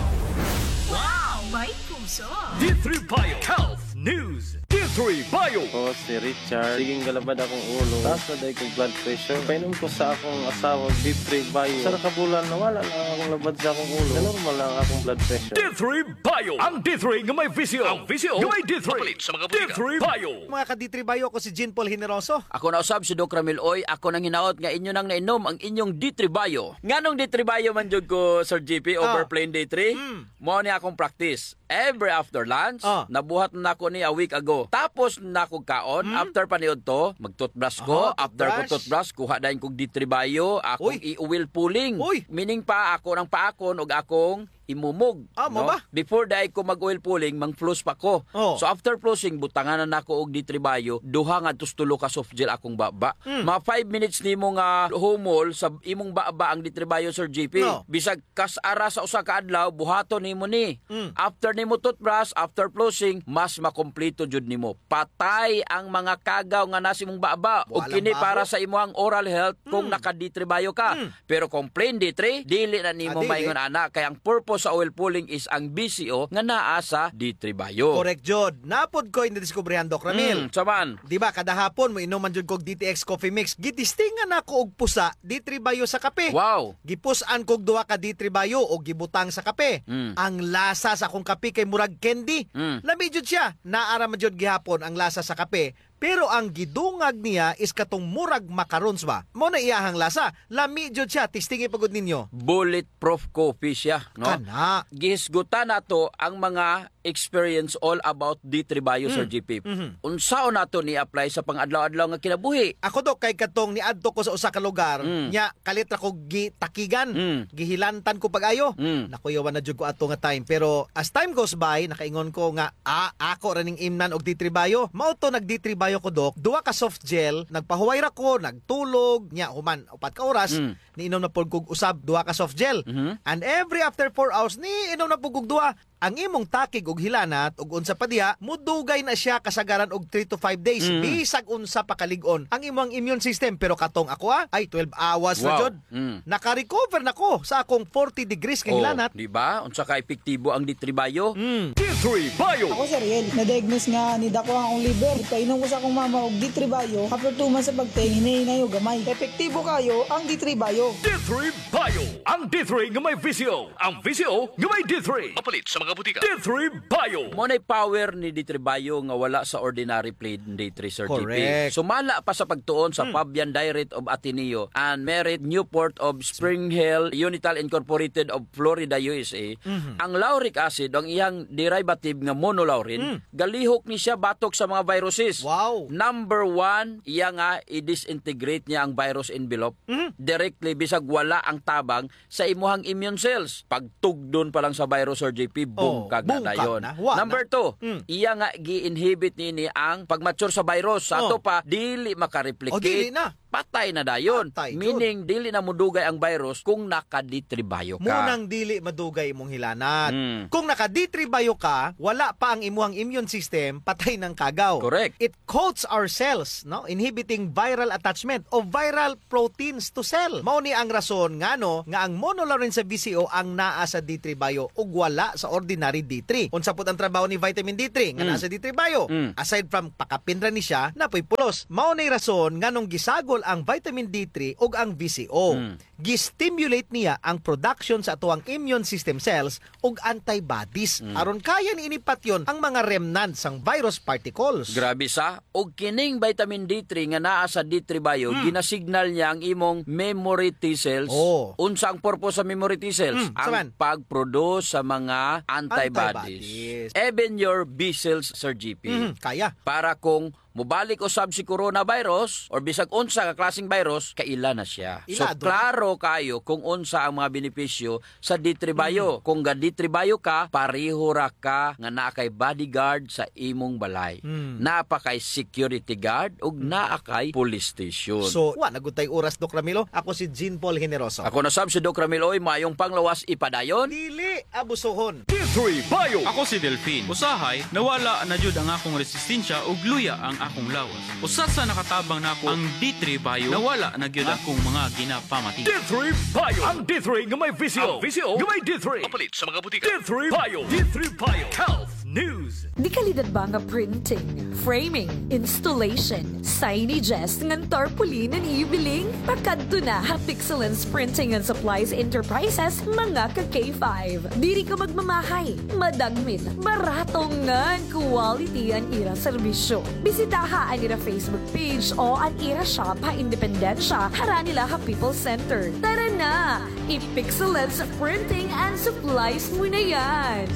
Wow! May puso! D three Bio Health News. D three Bio. Ako si Richard. Sige nga labad akong ulo. Taas na diay kong blood pressure. Painom ko sa akong asawa, D three Bio. Usa na ka bulan, nawala na akong labad sa akong ulo. Normal na ang akong blood pressure. D three Bio. Ang D three nga may visyo. Ang visyo nga may D three. Mapalit sa mga botika. D three Bio. Mga ka-D three Bio, ako si Jean Paul Generoso. Ako na usab si Doc Ramil Oy. Ako nang hinaot nga inyo nang nainom ang inyong D three Bio. Nganong D three Bio man jud ko, Sir G P, over Ah. plain D three? Mm. Mao ni akong practice. Every after lunch, Ah. nabuhat na nako ni a week ago. Tapos na nako kaon, Mm. after paniudto, mag-toothbrush ko. Aha, After ko toothbrush. toothbrush, kuha dayon kog D three Bio, akong Uy. i-oil pulling. Uy. Meaning pa, ako nang paakon og akong imumog, Ah, mao no? ba? Before diay ko mag-oil pulling, mang-floss pa ko. Oh. So after flossing, butangan na nako og D three Bio, duha ngadto sa tulo ka soft gel akong baba. Mm. Mga five minutes nimo nga humol sa imong baba ang D three Bio, Sir G P. No. Bisag kas ara sa usa ka adlaw, buhaton nimo ni. Mm. After nimo toothbrush, after flossing, mas makompleto jud nimo. Patay ang mga kagaw nga naa sa imong baba. Ug Walang kini baho. para sa imohang oral health kung Mm. naka-D three Bio ka. Mm. Pero kung plain D three, dili na nimo Ah, dili. maingon ana, kay ang purpose sa oil pulling is ang B C O nga naa sa D three Bio. Correct jud. Naa pod koy nadiskubrihan, Doc Ramil. Mm, unsa man? Di ba, kada hapon, moinom man jud kog D T X Coffee Mix. Gitistingan nako og pusa, D three Bio sa kape. Wow. Gipus-an kog duha ka D three Bio o gibutang sa kape. Mm. Ang lasa sa akong kape kay murag candy. Mm. Lami jud siya. Naa ra man jud gihapon ang lasa sa kape. Pero ang gidungag niya is katong murag macarons ba? Mao na iyahang lasa. Lami jud siya. Testingi pa gud ninyo. Bulletproof coffee siya, no? Kana. Gihisgutan nato ang mga experience all about D three Bio, Sir Mm. G P. Mhm. Unsaon nato ni-apply sa pang-adlaw-adlaw nga kinabuhi? Ako, Dok, kay katong niadto ko sa usa ka lugar, Mm. nya kalit ra ko gitakigan, Mm. gihilantan ko pag-ayo. Mm. Nakuyawan na jud ko ato nga time. Pero as time goes by, nakaingon ko nga, "Ah, ako ra ning imnan og D three Bio." Mao to nag-D three Bio ko, Dok. Duha ka soft gel, nagpahuway ra ko, nagtulog, nya human upat ka oras, Mm. niinom na pod kog usab duha ka soft gel. Mhm. And every after four hours, niinom na pod kog duha. Ang imong takig ug hilanat ug unsa pa diha, mudugay na siya kasagaran og three to five days, Mm. bisag unsa pa kalig-on ang imong immune system. Pero katong ako, ah, ay twelve hours na Wow. jud. Mm. Naka-recover na ko sa akong forty degrees nga Oh, hilanat. Di ba? Unsa ka epektibo ang D three Bio? Mm. D three Bio. Ako si Ariel. Na-diagnose nga nidako ang akong liver. Ipainom ko sa akong mama og D three Bio. After two months sa pagtae, hinay-hinay og gamay. Epektibo kayo ang D three Bio. D three Bio. Ang D three nga may visyo. Ang visyo nga may D three. Mapalit sa mga botika. D three Bio. Mao na'y power ni D three Bio nga wala sa ordinary plain D three, Sir G P. Correct. Sumala pa sa pagtuon sa Hmm. Fabian Direct of Ateneo and Merit Newport of Spring Hill Unital Incorporated of Florida, U S A, Mhm. ang lauric acid, ang iyang derivative nga monolaurin, Hmm. galihok ni siya batok sa mga viruses. Wow. Number one, iya nga i-disintegrate niya ang virus envelope Mhm. directly, bisag wala ang tabang sa imuhang immune cells. Pagtugdon pa lang sa virus, Sir J P, Oh. bungkag na dayon. Number two, iya nga gi-inhibit nini ang pag-mature sa virus. Sa ato pa, dili makareplicate. O, dili na. Patay na dayon. Patay jud. Meaning, dili na modugay ang virus kung naka-D three Bio ka. Mao nang dili madugay imong hilanat. Kung naka-D three Bio ka, wala pa ang imuhang immune system, patay nang kagaw. Correct. It coats our cells, no? Inhibiting viral attachment o viral proteins to cell. Mao ni ang rason ngano nga ang monolaurin sa V C O ang naa sa D three Bio ug wala sa ordinary D three. Unsa pud ang trabaho ni vitamin D three nga naa sa D three Bio? Aside from pakapin ra ni siya, naa poy pulos. Mao ni rason nganong gisagol ang vitamin D three ug ang V C O. Gi-stimulate niya ang production sa atoang immune system cells ug antibodies. Aron kaya ni ini patyon ang mga remnants sang virus particles. Grabe sa, ug kining vitamin D three nga naa sa D three Bio, ginasignal niya ang imong memory T cells. Unsa ang purpose sa memory T cells? Ang pag-produce sa mga antibodies. Antibodies. Even your B cells, Sir G P. Kaya. Para kung mobalik usab si coronavirus or bisag unsa ka klaseng virus, kaila na siya. So, klaro kayo kung unsa ang mga benepisyo sa D three Bio. Kung ga-D three Bio ka, pareho ra ka nga naa kay bodyguard sa imong balay. Naa pa kay security guard ug naa kay police station. So, wa na gud tay oras, Doc Ramilo. Ako si Jean Paul Generoso. Ako na sab si Doc Ramilo, oy, maayong panglawas, ipadayon. Dili abusohon. D three Bio. Ako si Delfin. Usahay, nawala na jud ang akong resistensya ug luya ang akong lawas. Usa sa nakatabang nako ang D three Bio, nawala na gyud akong mga ginapamati. D three Bio. Ang D three nga may V C O. Ang V C O nga may D three. Mapalit sa mga butika. D three Bio. D three Bio. Health News. Dekalidad ba nga printing, framing, installation, signages, ngan tarpaulin an iyo biling? Pakadto na ha Pixelance Printing and Supplies Enterprises, mga ka K five. Diri ka magmamahay, madagmit, barato ngan quality an ira serbisyo. Bisitaha an ira Facebook page o an ira shop ha Independencia, harani la ha People's Center. Tara na! I-Pixelance Printing and Supplies mo na yan!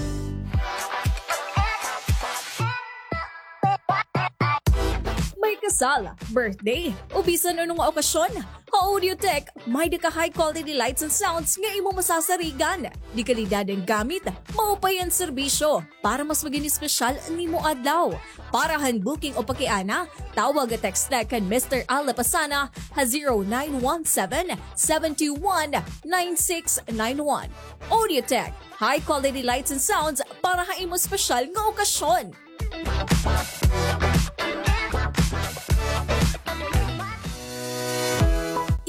May kasal, birthday, o bisan ano nga okasyon, ha Audiotech, may-ada ka high quality lights and sounds nga imo masasarigan. Dekalidad an gamit, maupay an serbisyo. Para mas maging espesyal an imo adlaw. Para han booking o pakiana, tawag o text kan Mister Al Lapasana ha zero nine one seven, seven two one, nine six nine one. Audiotech, high quality lights and sounds para ha imo espesyal nga okasyon.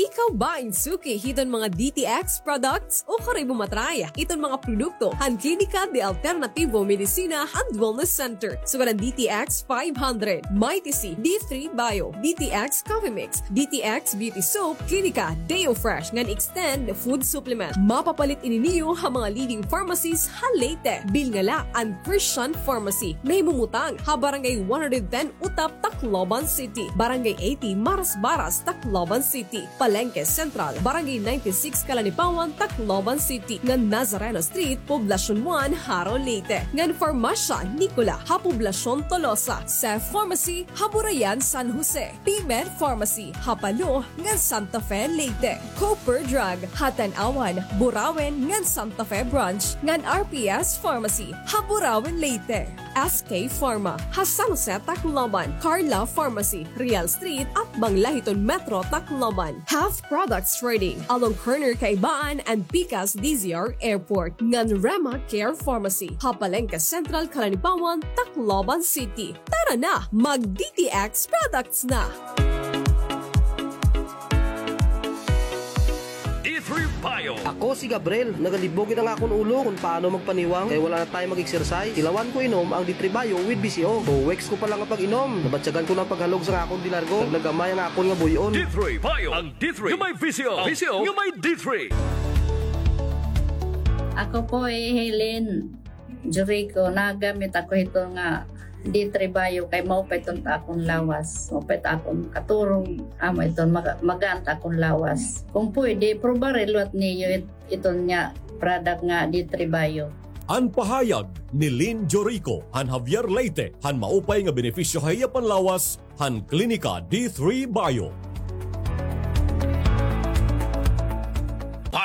Ikaw ba in suki hiton mga D T X products? Ukon imo ma-try iton mga produkto han Klinika de Alternativo Medicina and Wellness Center. Sugad an D T X five hundred, Mighty C, D three Bio, D T X Coffee Mix, D T X Beauty Soap, Klinika Deo Fresh ngan Extend Food Supplement. Mapapalit ini niyo ha mga leading pharmacies ha Leyte. Bilngala an Christian Pharmacy. Nahimumutang ha Barangay one hundred ten Utap, Tacloban City, Barangay eighty Marasbaras, Tacloban City, Palengke Central, Barangay ninety-six Calanipawan, Tacloban City, ngan Nazareno Street, Poblacion one, Jaro, Leyte, ngan Farmasya Nicola ha Poblacion Tolosa, Seth Pharmacy ha Burayan, San Jose, P-Med Pharmacy ha Palo ngan Santa Fe, Leyte, Cooper Drug ha Tanauan, Burauen ngan Santa Fe Branch, ngan R P S Pharmacy ha Burauen, Leyte. S K Pharma ha San Jose, Tacloban, Carla Pharmacy, Real Street, atbang la hiton Metro Tacloban. Half Products Trading, along corner Kaibaan and Pikas D Z R Airport, ngan Rema Care Pharmacy ha Palengke Central, Calanipawan, Tacloban City. Tara na, mag D T X products na! D three Bio. Ako si Gabriel. Nagalibog gid ang akon ulo kon paano magpaniwang kay wala na time mag-exercise. Tilawan ko inom ang D three Bio with V C O. Two weeks ko pa lang nga pag-inom, nabatyagan ko na ang paghalog sa akon de largo. Naglagamay ang akon nga buy-on. D three Bio. Ang D three nga may V C O. V C O nga may D three. Ako po hi Helen Jericho, nagamit ako hito nga D three Bio kay maupay iton ha akon lawas. Maupay it akon katurog, amo iton maga-, magaan it akon lawas. Kung pwede, prubaha liwat niyo it-, iton nga product nga D three Bio. An pahayag ni Lynn Jorico han Javier, Leyte, han maupay nga benepisyo ha iya panlawas han Klinika D three Bio.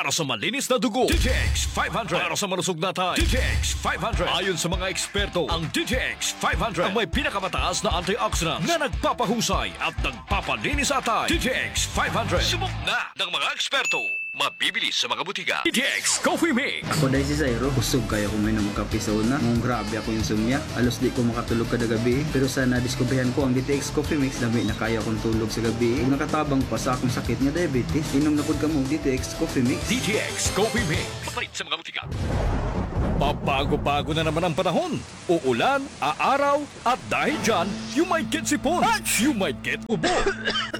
Para sa malinis na dugo, D T X five hundred. Para sa malusog na atay, D T X five hundred. Ayon sa mga eksperto, ang D T X five hundred ang may pinakamataas na antioxidants na nagpapahusay at nagpapalinis sa atay. D T X five hundred. Subok na ng mga eksperto. Mabibili sa mga butika. D T X Coffee Mix. Ako, Day, si Zairo. Kusog kaayo ko mainom og kape sa una. Ngunong grabe akon insomnia. Halos di ko makatulog kada gabii. Pero sa nadiskubrihan ko ang D T X Coffee Mix, lami na kaayo akon tulog sa gabii. Ug nakatabang pa sa akon sakit nga diabetes. Inom na pod kamo og D T X Coffee Mix. D T X Coffee Mix. Mapalit sa mga butika. Pabago-bago na naman ang panahon. Uulan, aaraw, at dahil dyan, you might get sipon, you might get ubo,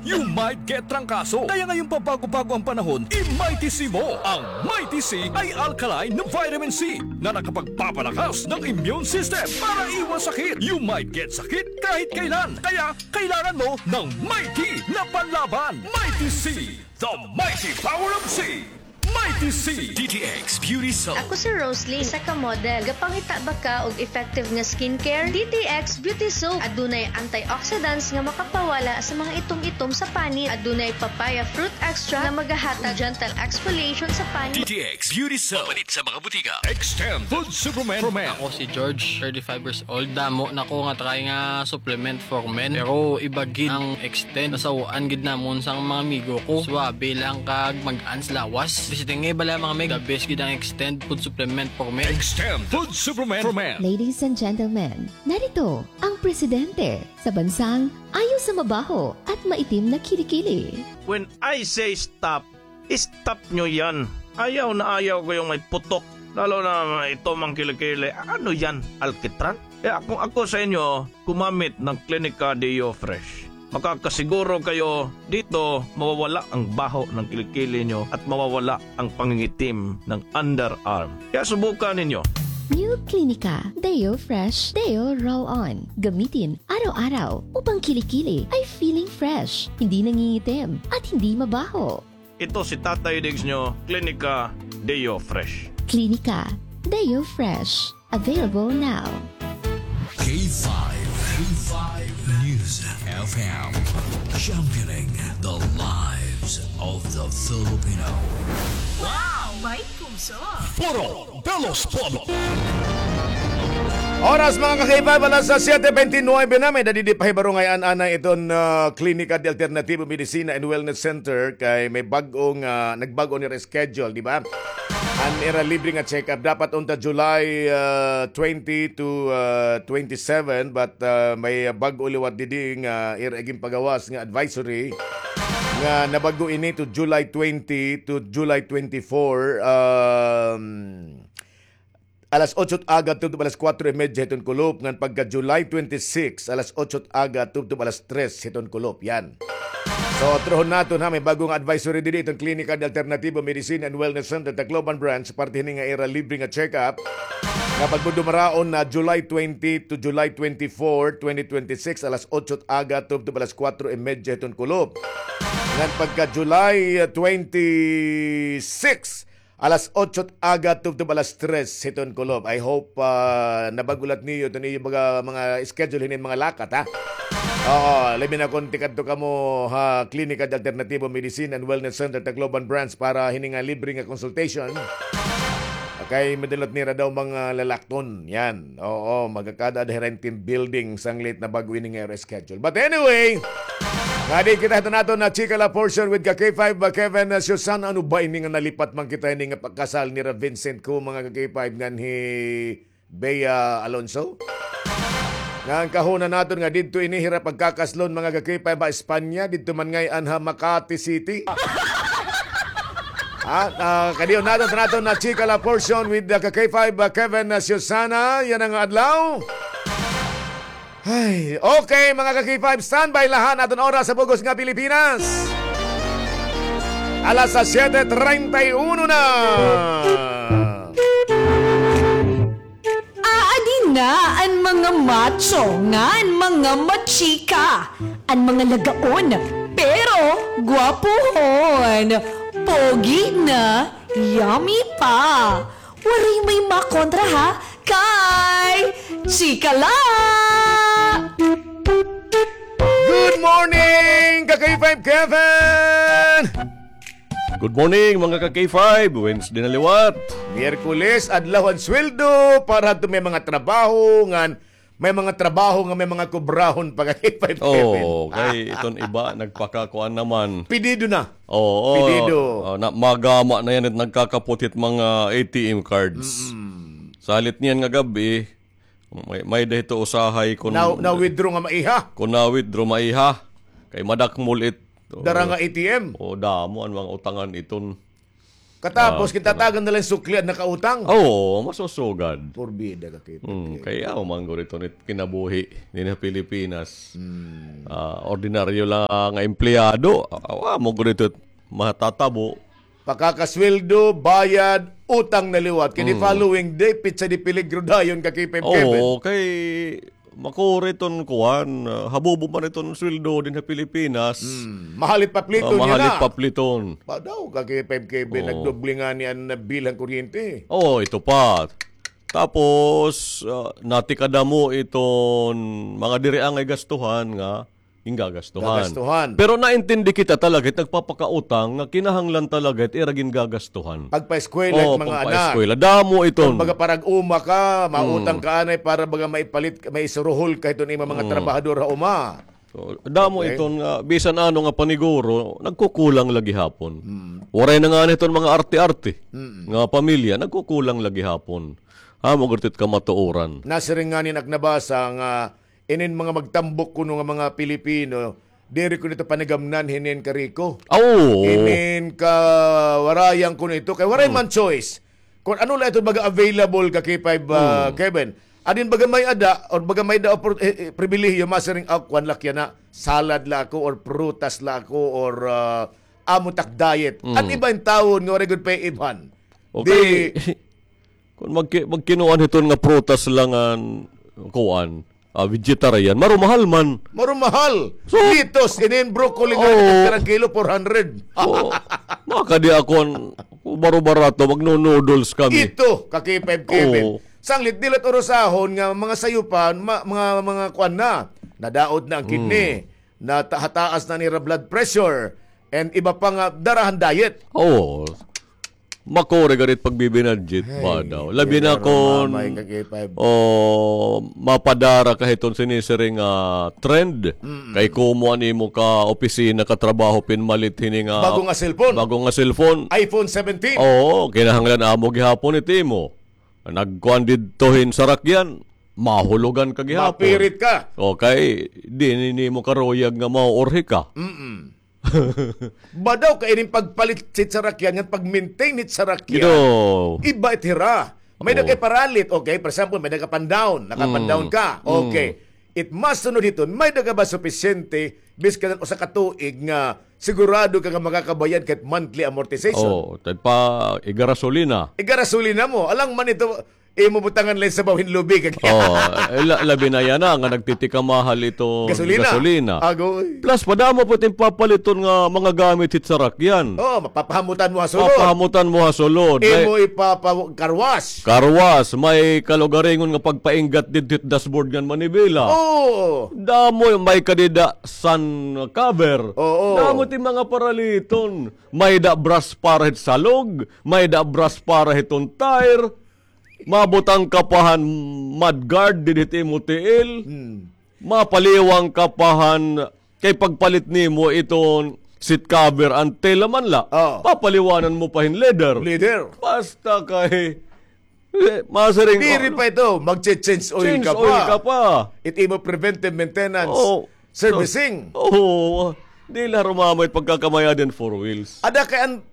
you might get trangkaso. Kaya ngayong pabago-bago ang panahon, i-Mighty C mo. Ang Mighty C ay alkaline na vitamin C na nakapagpapalakas ng immune system para iwas sakit. You might get sakit kahit kailan. Kaya kailangan mo ng Mighty na panlaban. Mighty C, the mighty power of C. Mighty C. D T X Beauty Soap. Ako si Rosalie, isa ka model. Gapangita ba ka og effective nga skincare? D T X Beauty Soap. Adunay antioxidants nga makapawala sa mga itom-itom sa panit. Adunay papaya fruit extract nga magahatag gentle exfoliation sa panit. D T X Beauty Soap. Mapalit sa mga butika. Extend Food Supplement for Men. Ako si George, thirty-five years old. Damo na ko nga try nga supplement for men. Pero iba gid ang Extend. Nasaw-an gid namon sang mga amigo ko. Suabe lang kag mag-an sa lawas. Bisita nga bala, mga mig, the best gid ang Extend food supplement for men. Extend food supplement for men. Ladies and gentlemen, narito ang presidente sa bansang ayaw sa mabaho at maitim na kilikili. When I say stop, stop nyo yan. Ayaw na ayaw ko yung may putok. Lalo na may itom ang kilikili. Ano yan? Alkitran? Kaya kung ako sa inyo, gumamit ng Clinica Deo Fresh. Makakasiguro kayo dito, mawawala ang baho ng kilikili nyo at mawawala ang pangingitim ng underarm. Kaya subukan ninyo. New Clinica Deo Fresh Deo Roll-On. Gamitin araw-araw upang kilikili ay feeling fresh, hindi nangingitim, at hindi mabaho. Ito si Tatay Diggs nyo, Clinica Deo Fresh. Clinica Deo Fresh. Available now. K five, K five News F M, championing the lives of the Filipino. Wow, may puso. Foro de los Pueblos. Oras, mga ka-K five, alas siyete bente nuwebe na. May-ada didi pahibaro ngay-an anay iton, ah, Klinika de Alternativo Medicina and Wellness Center kay may bag-o nga, nagbag-o nira schedule, di ba? An ira libre nga check-up dapat unta July, ah, twenty to, ah, twenty-seven, but, ah, may bag-o liwat didi nga ira ginpagawas nga advisory nga nabag-o ini to July twenty to July twenty-four. Um, alas otso aga tubtob alas kuwatro y medya hiton kulop, ngan pagka July twenty-six, alas otso aga tubtob alas tres hiton kulop. Yan. So, truhon naton, ha, may bag-o nga advisory didi iton Klinika de Alternativo Medicine and Wellness Center, Tacloban Branch, parte hini nga ira libre nga check-up nga pagdumaraon na July twenty to July twenty-four, twenty twenty-six, alas otso aga tubtob alas kuwatro y medya hiton kulop. Ngan pagka July, uh, twenty-six, alas otso aga tubtob alas tres hiton kulop. I hope, ah, nabag-o liwat niyo iton iyo mga, mga schedule hinin mga lakat, ha? Oo, labi na kon tikadto kamo ha Klinika de Alternativo Medicine and Wellness Center Tacloban Branch para hini nga libre nga consultation. Kay madulot nira daw mga lalakton. Yan. Oo, magkakada-ada hira hin team building sanglit nabag-o ini nga ira schedule. But anyway, ngadi kita hiton aton nga chika la portion with ka K five, uh, Kevin, uh, Susan. Ano ba ini nga nalipat man kita hini nga pagkasal nira Vincent ko, mga ka K five, ngan hi Bea Alonso? Nga an kahuna naton nga didto ini hira pagkakaslon, mga ka K five, ha Espanya, didto man ngay-an ha Makati City. Ha? Ah, kadiyon naton, naton nga chika la portion with the ka K five, uh, Kevin, uh, Susana, yana nga adlaw. Ay, okay, mga ka K five, standby la ha, an aton oras ha bug-os nga Pilipinas. Alas siyete treinta y uno na. Aadi na an mga macho ngan mga machika, an mga lagaon, pero gwapohon, pogi na, yummy pa. Waray may makontra ha kay Chika La! Good morning, ka K five Kevin! Good morning, mga ka-K five. Wednesday na liwat. Miyerkules, adlaw han sweldo para hadto may mga trabaho ngan may mga trabaho nga may mga kubrahon pa ka-K five Kevin. Oo, kay iton iba nagpakakuan naman. Pidido na. Oo, pidido. Ah, na, magama na yan at nagkakapot hit mga A T M cards. Salit niyan nga gab-i, May, may-ada hito usahay kun na-withdraw nga maiha. Kun na-withdraw maiha. Kay madakmol it dara nga A T M. O, damo an mga utangan iton. Katapos, ah, kintatagan na lang sukli an nakautang. Oo, masusugad. Porbida ka, K five Kevin. Kay aw, manggod iton it kinabuhi dinhi ha Pilipinas. Ah, ordinaryo la nga empleyado. Aw, aw, manggod ito matatabo. Pakakasweldo, bayad, utang na liwat. Kay the following day, petsa de peligro dayon ka-K five Kevin. Oo, kay makuri iton kuan, ah, habubo man iton sweldo dinhi ha Pilipinas. Mahalit papliton niya na. Mahalit papliton. Ba daw ka-K five Kevin, nagdoble ngani an bill han kuryente. Oo, ito pa. Tapos, ah, natikadamo iton mga diri angay gastuhan nga gingagastuhan. Gagastuhan. Pero naintindi kita talaga it nagpapakautang nga kinahanglan talaga it ira gingagastuhan. Pagpaeskwela it mga anak. Pagpaeskwela. Damo iton. Kumbaga, parag-uma ka, mautang ka anay para baga maipalit, maisuruhol ka hiton imo mga trabahador ha uma. So, damo iton nga bisan ano nga paniguro, nagkukulang la gihapon. Waray na ngani hiton mga arte-arte nga pamilya, nagkukulang la gihapon. Amo gud it kamatuoran. Nasiring ngani an ak nabasa nga inin mga magtambok kuno nga mga Pilipino, diri kuno ito panigamnan hinin kariko. Oo. Inin kawarayan kuno ito, kay waray man choice. Kun ano la ito baga available ka K five, ah, Kevin. Adin baga may-ada, or baga may-ada opor-, eh, eh, pribilehiyo, masiring, ah, kuan la kiyan na, salad la ako, or prutas la ako, or, ah, amo tak diet. An iba intawon nga waray gud pay-ibhan. Okay. Di, kun magki-, magkinuan hiton nga prutas la ngan kuan, ah, vegetarian, marumahal man. Marumahal. So, litos, inin broccoli nga kada kilo, four hundred. So, makadi ako an baro-barato, magno-noodles kami. Ito, ka-K five Kevin. Oo. Sanglit, dili la it urusahon nga mga sayupan, ma-, mga, mga kuan na. Nadaot na an kidney. Nata-, hataas na an ira blood pressure. And iba pa nga dara han diet. Oo. Makuri gad it pagbibinadjit ba daw. Labi na kun, o, mapadara ka hiton sinisiring nga trend. Kay komo an imo ka-opisina, katrabaho, pinmalit hini nga bago nga cellphone. Bago nga cellphone. iPhone seventeen. Oo, kinahanglan amo gihapon it imo. Nagkuan didto hin sarakyan, mahulogan ka gihapon. Mapirit ka. Okay, diri nimo karuyag nga mauurhi ka. Ba daw kay inin pagpalit hit sarakyan ngan pag-maintain hit sarakyan. Iba it hira. May-ada kay paralit, okay? For example, may-ada ka pan-down, naka-pan-down ka. Okay. It masunod hiton, may-ada ka ba supisyente, biskan usa ka tuig nga sigurado ka nga makakabayad ka hit monthly amortization? Oo, tagpa igarasolina. Igarasolina mo. Alang man ito, imo butangan la hin sabaw hin lubig. Oo, eh, la-, labi na yana nga nagtitikamahal ito gasolina. Gasolina. Agoy. Plus, padamo pa it im papaliton nga mga gamit hit sarakyan. Oo, mapapahamutan mo ha sulod. Papahamutan mo ha sulod. Imo ipapa-, car wash. Car wash, may kalugaringon nga pagpainggat didto hit dashboard ngan manibela. Oo. Damo, may ka dida sun cover. Oo. Damo it im mga paraliton. May-ada brush para hit salog, may-ada brush para hiton tire. Mabutang ka pa han mud guard didi hit imo tiil. Mapaliwang ka pa han, kay pagpalit nimo iton seat cover, an tela man la. Oo. Papaliwanan mo pa hin leather. Leather. Basta kay, eh, masiring, diri pa ito, magche-change oil ka pa. Change oil ka pa. It imo preventive maintenance. Oo. Servicing. Oo. Diri la harumamay it pagkakamay-ada hin four wheels. Ada kay an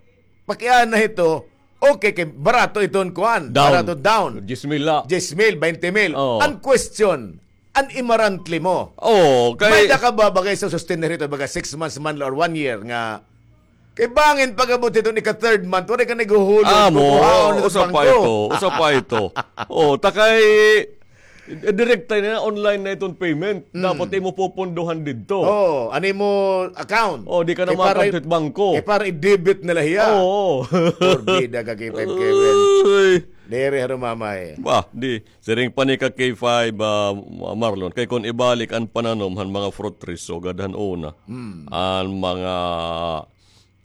pakiana hito, okay, kay barato iton kuan. Down. Barato down. Diyes mil la. Diyes mil, baynte mil. Oo. An question, an imarantle mo. Oo, kay may-ada ka ba baga isusustener hito, baga six months man la or one year nga, kay bangin pag-abot hiton ika-third month, waray ka naghuhulog, amo, kukuhaon na usa pa ito, usa pa ito. Oo, ta kay, eh, direkta na, online na iton payment. Dapat imo pupundohan didto. Oo, an imo account. Oo, di ka na makakadto hit bangko. Kay para i-debit na la hiya. Oo. Porbida ka, K five Kevin. Uy. Diri harumamay. Bah, di. Siring pa ni ka K five, ah, Marlon. Kay kon ibalik an pananom han mga fruit trees, sugad han una. An mga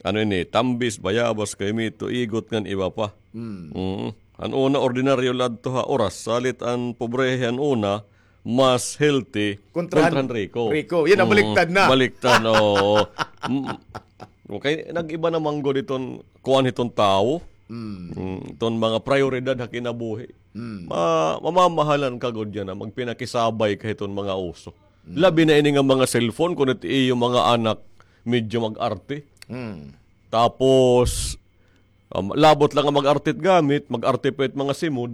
Ano ini, tambis, bayabas, kaymito, igot ngan iba pa. Mm. Han una, ordinaryo la adto ha oras. Salit an pobrehe han una, mas healthy kontra han riko. Riko. Yan, nabaliktad na. Baliktad, oo. Mm. Okay, nag-iba na man gud iton kuan hiton tawo. Mm, iton mga prayoridad ha kinabuhi. Ma-, mamamahalan ka gud yana, magpinakisabay ka hiton mga uso. Labi na ini nga mga cellphone, kun it iyo mga anak, medyo mag-arte. Tapos, um, labot la nga mag-arte it gamit, mag-arte pa it mga simod.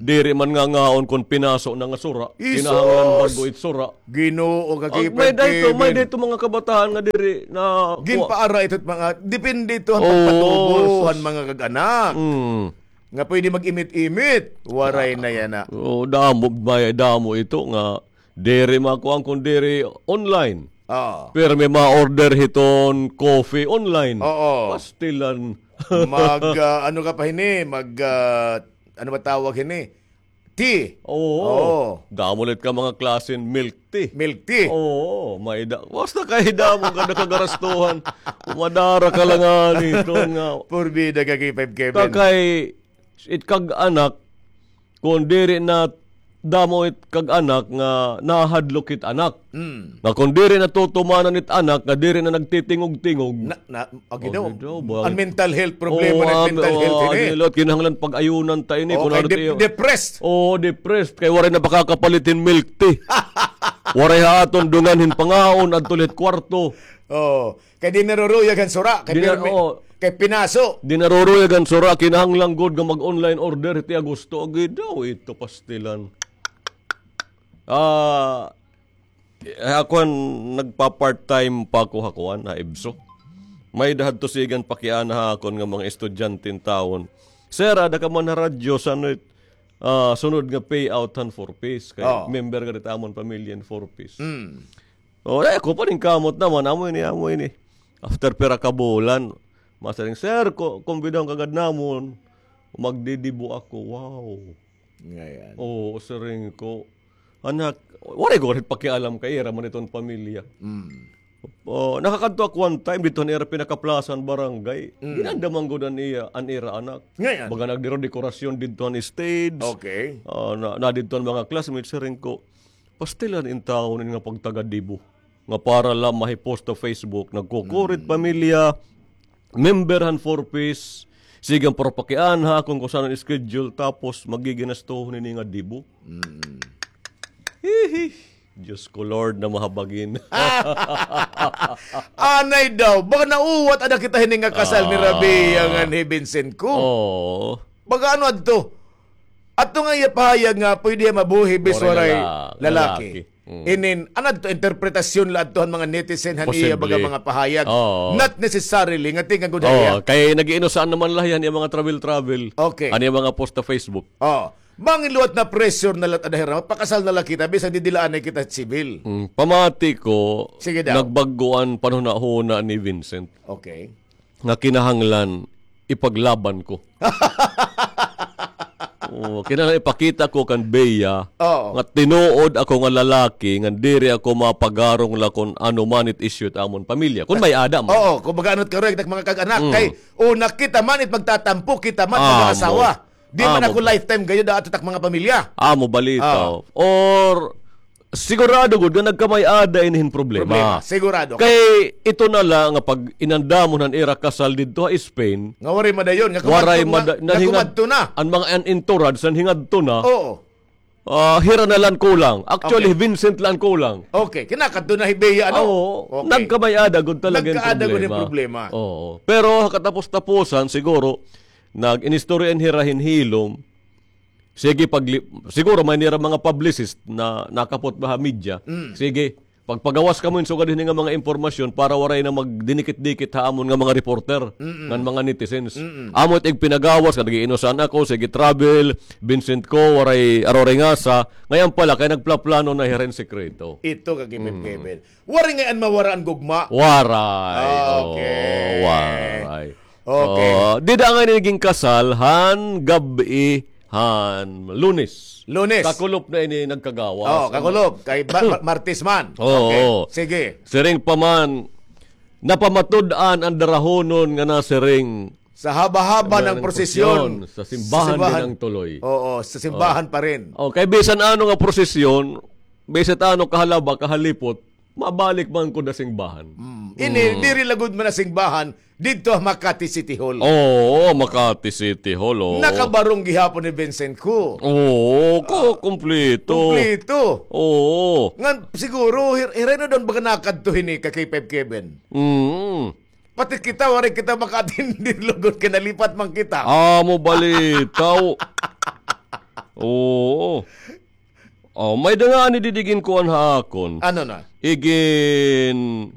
Diri man ngangaon kon pinaso na nga sura. Kinahanglan bag-o it sura. Ginoo ka, may dayto, may dayto mga kabataan nga diri na ginpaara ito it mga, depende ito han pagpatubo han mga kag-anak. Nga pwede mag-imit-imit, waray na yana. Oo, damo, may damo ito nga diri makuan kun diri online. Pero may ma-order hiton coffee online. Oo. Pastilan. Mag, ah, ano ka pa hini? Mag, ah, ano ba tawag hini? Tea. Oo. Damo la it ka mga klasen milk tea. Milk tea. Oo, may da-, basta kay damo ka nakagarastuhan. Umadara ka la ngani hiton nga. Porbida ka, K five Kevin. Kay it kag-anak, kon diri na damo it kag-anak nga nahadlok it anak. Nga kon diri na tutumanan it anak, nga diri na nagtitingog-tingog. Na, na, agi daw. An mental health, problema na mental health ini. Kinahanglan pag-ayunan ta ini, kun ano de-, depressed. Oo, depressed. Kay waray na pakakapalit hin milk tea. Waray ha aton dungan hin pangaon, adto la hit kwarto. Oo. Kay di naruruyag han sura, kay pirmi, kay pinaso. Di naruruyag han sura, kinahanglan gud nga mag-online order hiti Agosto. Agi daw, ito pastilan. Ah, eh, ako han nagpa-part-time pa ako ha kuan, ha EVSO. May-ada hadto sigan pakiana ha akon nga mga estudyante intawon. Sir, ada ka man ha radyo, san-o it, ah, sunod nga payout han Four Ps? Kay member ka dida ha amon pamilya hin Four Ps. O, ay, ako paningkamot naman, amo ini, amo ini. After pira ka bulan, masiring, "Sir, ko-, kumbidahon ka gad namon, magdidibo ako." Wow. Ngayan. Oo, siring ko. Anak, waray ko gad pakialam kay ira man iton pamilya. O, nakakadto ako one time, didto han ira pinakaplaza han barangay. Ginanda man gud an iya, an ira anak. Ngayan. Baga nagdiro-dekorasyon didto han stage. Okay. Ah, na, na didto an mga classmates, siring ko. Pastilan intawon ini nga pagtagadibo. Nga para la mahi-post ha Facebook, nagkukurit pamilya, member han Four Ps, sige, para pakiana ha akon kon san-o an schedule, tapos magiginastuhon ini nga dibo. Hihi. Diyos ko, Lord, na mahabagin. Anay daw, baka nauwat ada kita hini nga kasal ni Rabia ngan hi Vincent ko. Oo. Baga ano adto? Adto nga iya pahayag nga pwede mabuhi bis waray lalaki. Inin, ano adto, interpretasyon la adto han mga netizen han iya baga mga pahayag. Not necessarily nga tingagod ha iya. Kay nag-iinusaan naman la hiya han iya mga travel-travel. Okay. Han iya mga post ha Facebook. Oh. Bangin liwat na-pressure na la it ada hira, pakasal na la kita, bisan didila anay kita civil. Pamati ko, nagbag-o an panhunahuna ni Vincent. Okay. Nga kinahanglan ipaglaban ko. Oo, kinahanglan ipakita ko kan Bea nga tinuod ako nga lalaki, nga diri ako mapagarong la kon ano man it issue it amon pamilya. Kon may-ada man. Oo, kumbaga ano it karuyag tak mga kag-anak, kay una kita man it magtatampo, kita man mag-aasawa. Di man ako lifetime gayod ato tak mga pamilya. Amo balita. Or sigurado gud nga nagkamay-ada ini hin problema. Problema, sigurado. Kay ito na la nga pag inandamon han ira kasal didto ha Spain, nga waray madayon, nga kumadto na. An mga an entourage, an hingadto na. Oo. Ah, hira na la an kulang. Actually, Vincent la an kulang. Okay, kinakadto na hi Bea, ano? Oo. Okay. Nagkamay-ada gud talaga hin problema. Nagkaada gud hin problema. Oo. Pero ha katapos-tapusan, siguro, nag-inistorya hira hin hilom. Sige, pagli-, siguro may nira mga publicist na nakapot ba ha media. Sige, pagpagawas kamo hin sugad hini nga mga impormasyon para waray na magdinikit-dikit ha amon nga mga reporter ngan mga netizens. Amo it igpinagawas nga nag-iinusan ako, sige, travel, Vincent ko, waray, aruray ngasa. Ngayan pala, kay nagplaplano na hira hin sekreto. Ito ka gipipipil. Waray ngay-an mawara an gugma. Waray. Ah, okay. Oo, waray. Okay. Oo, dida ngay-an ini ginkasal han gab-i han Lunes. Lunes. Kakulop na ini nagkagawas. Oo, kakulop. Kay ma-, ma-, Martes man. Oo. Okay. Sige. Siring pa man, Napamatud-an an darahonon nga nasiring, sa haba-haba ng prosesyon, sa simbahan din ang tuloy. Oo, sa simbahan pa rin. Oh, kay bisan ano nga prosesyon, bisan ano kahalaba, kahalipot, mabalik man ko na simbahan. Mm. Ini, diri lagod man na simbahan, didto ha Makati City Hall. Oo, Makati City Hall, oo. Nakabarong gihapon ni Vincent ko. Oo, ko, kumpleto. Kumpleto. Oo. Ngan, siguro, hir-, hiray na daw baga nakadto hini ka K five Kevin. Mm. Pati kita, waray kita maka-attend lugod kay nalipat man kita. Amo balitaw. Oo. Oh, may-ada ngani didi igin kuan ha akon. Ano na? Igin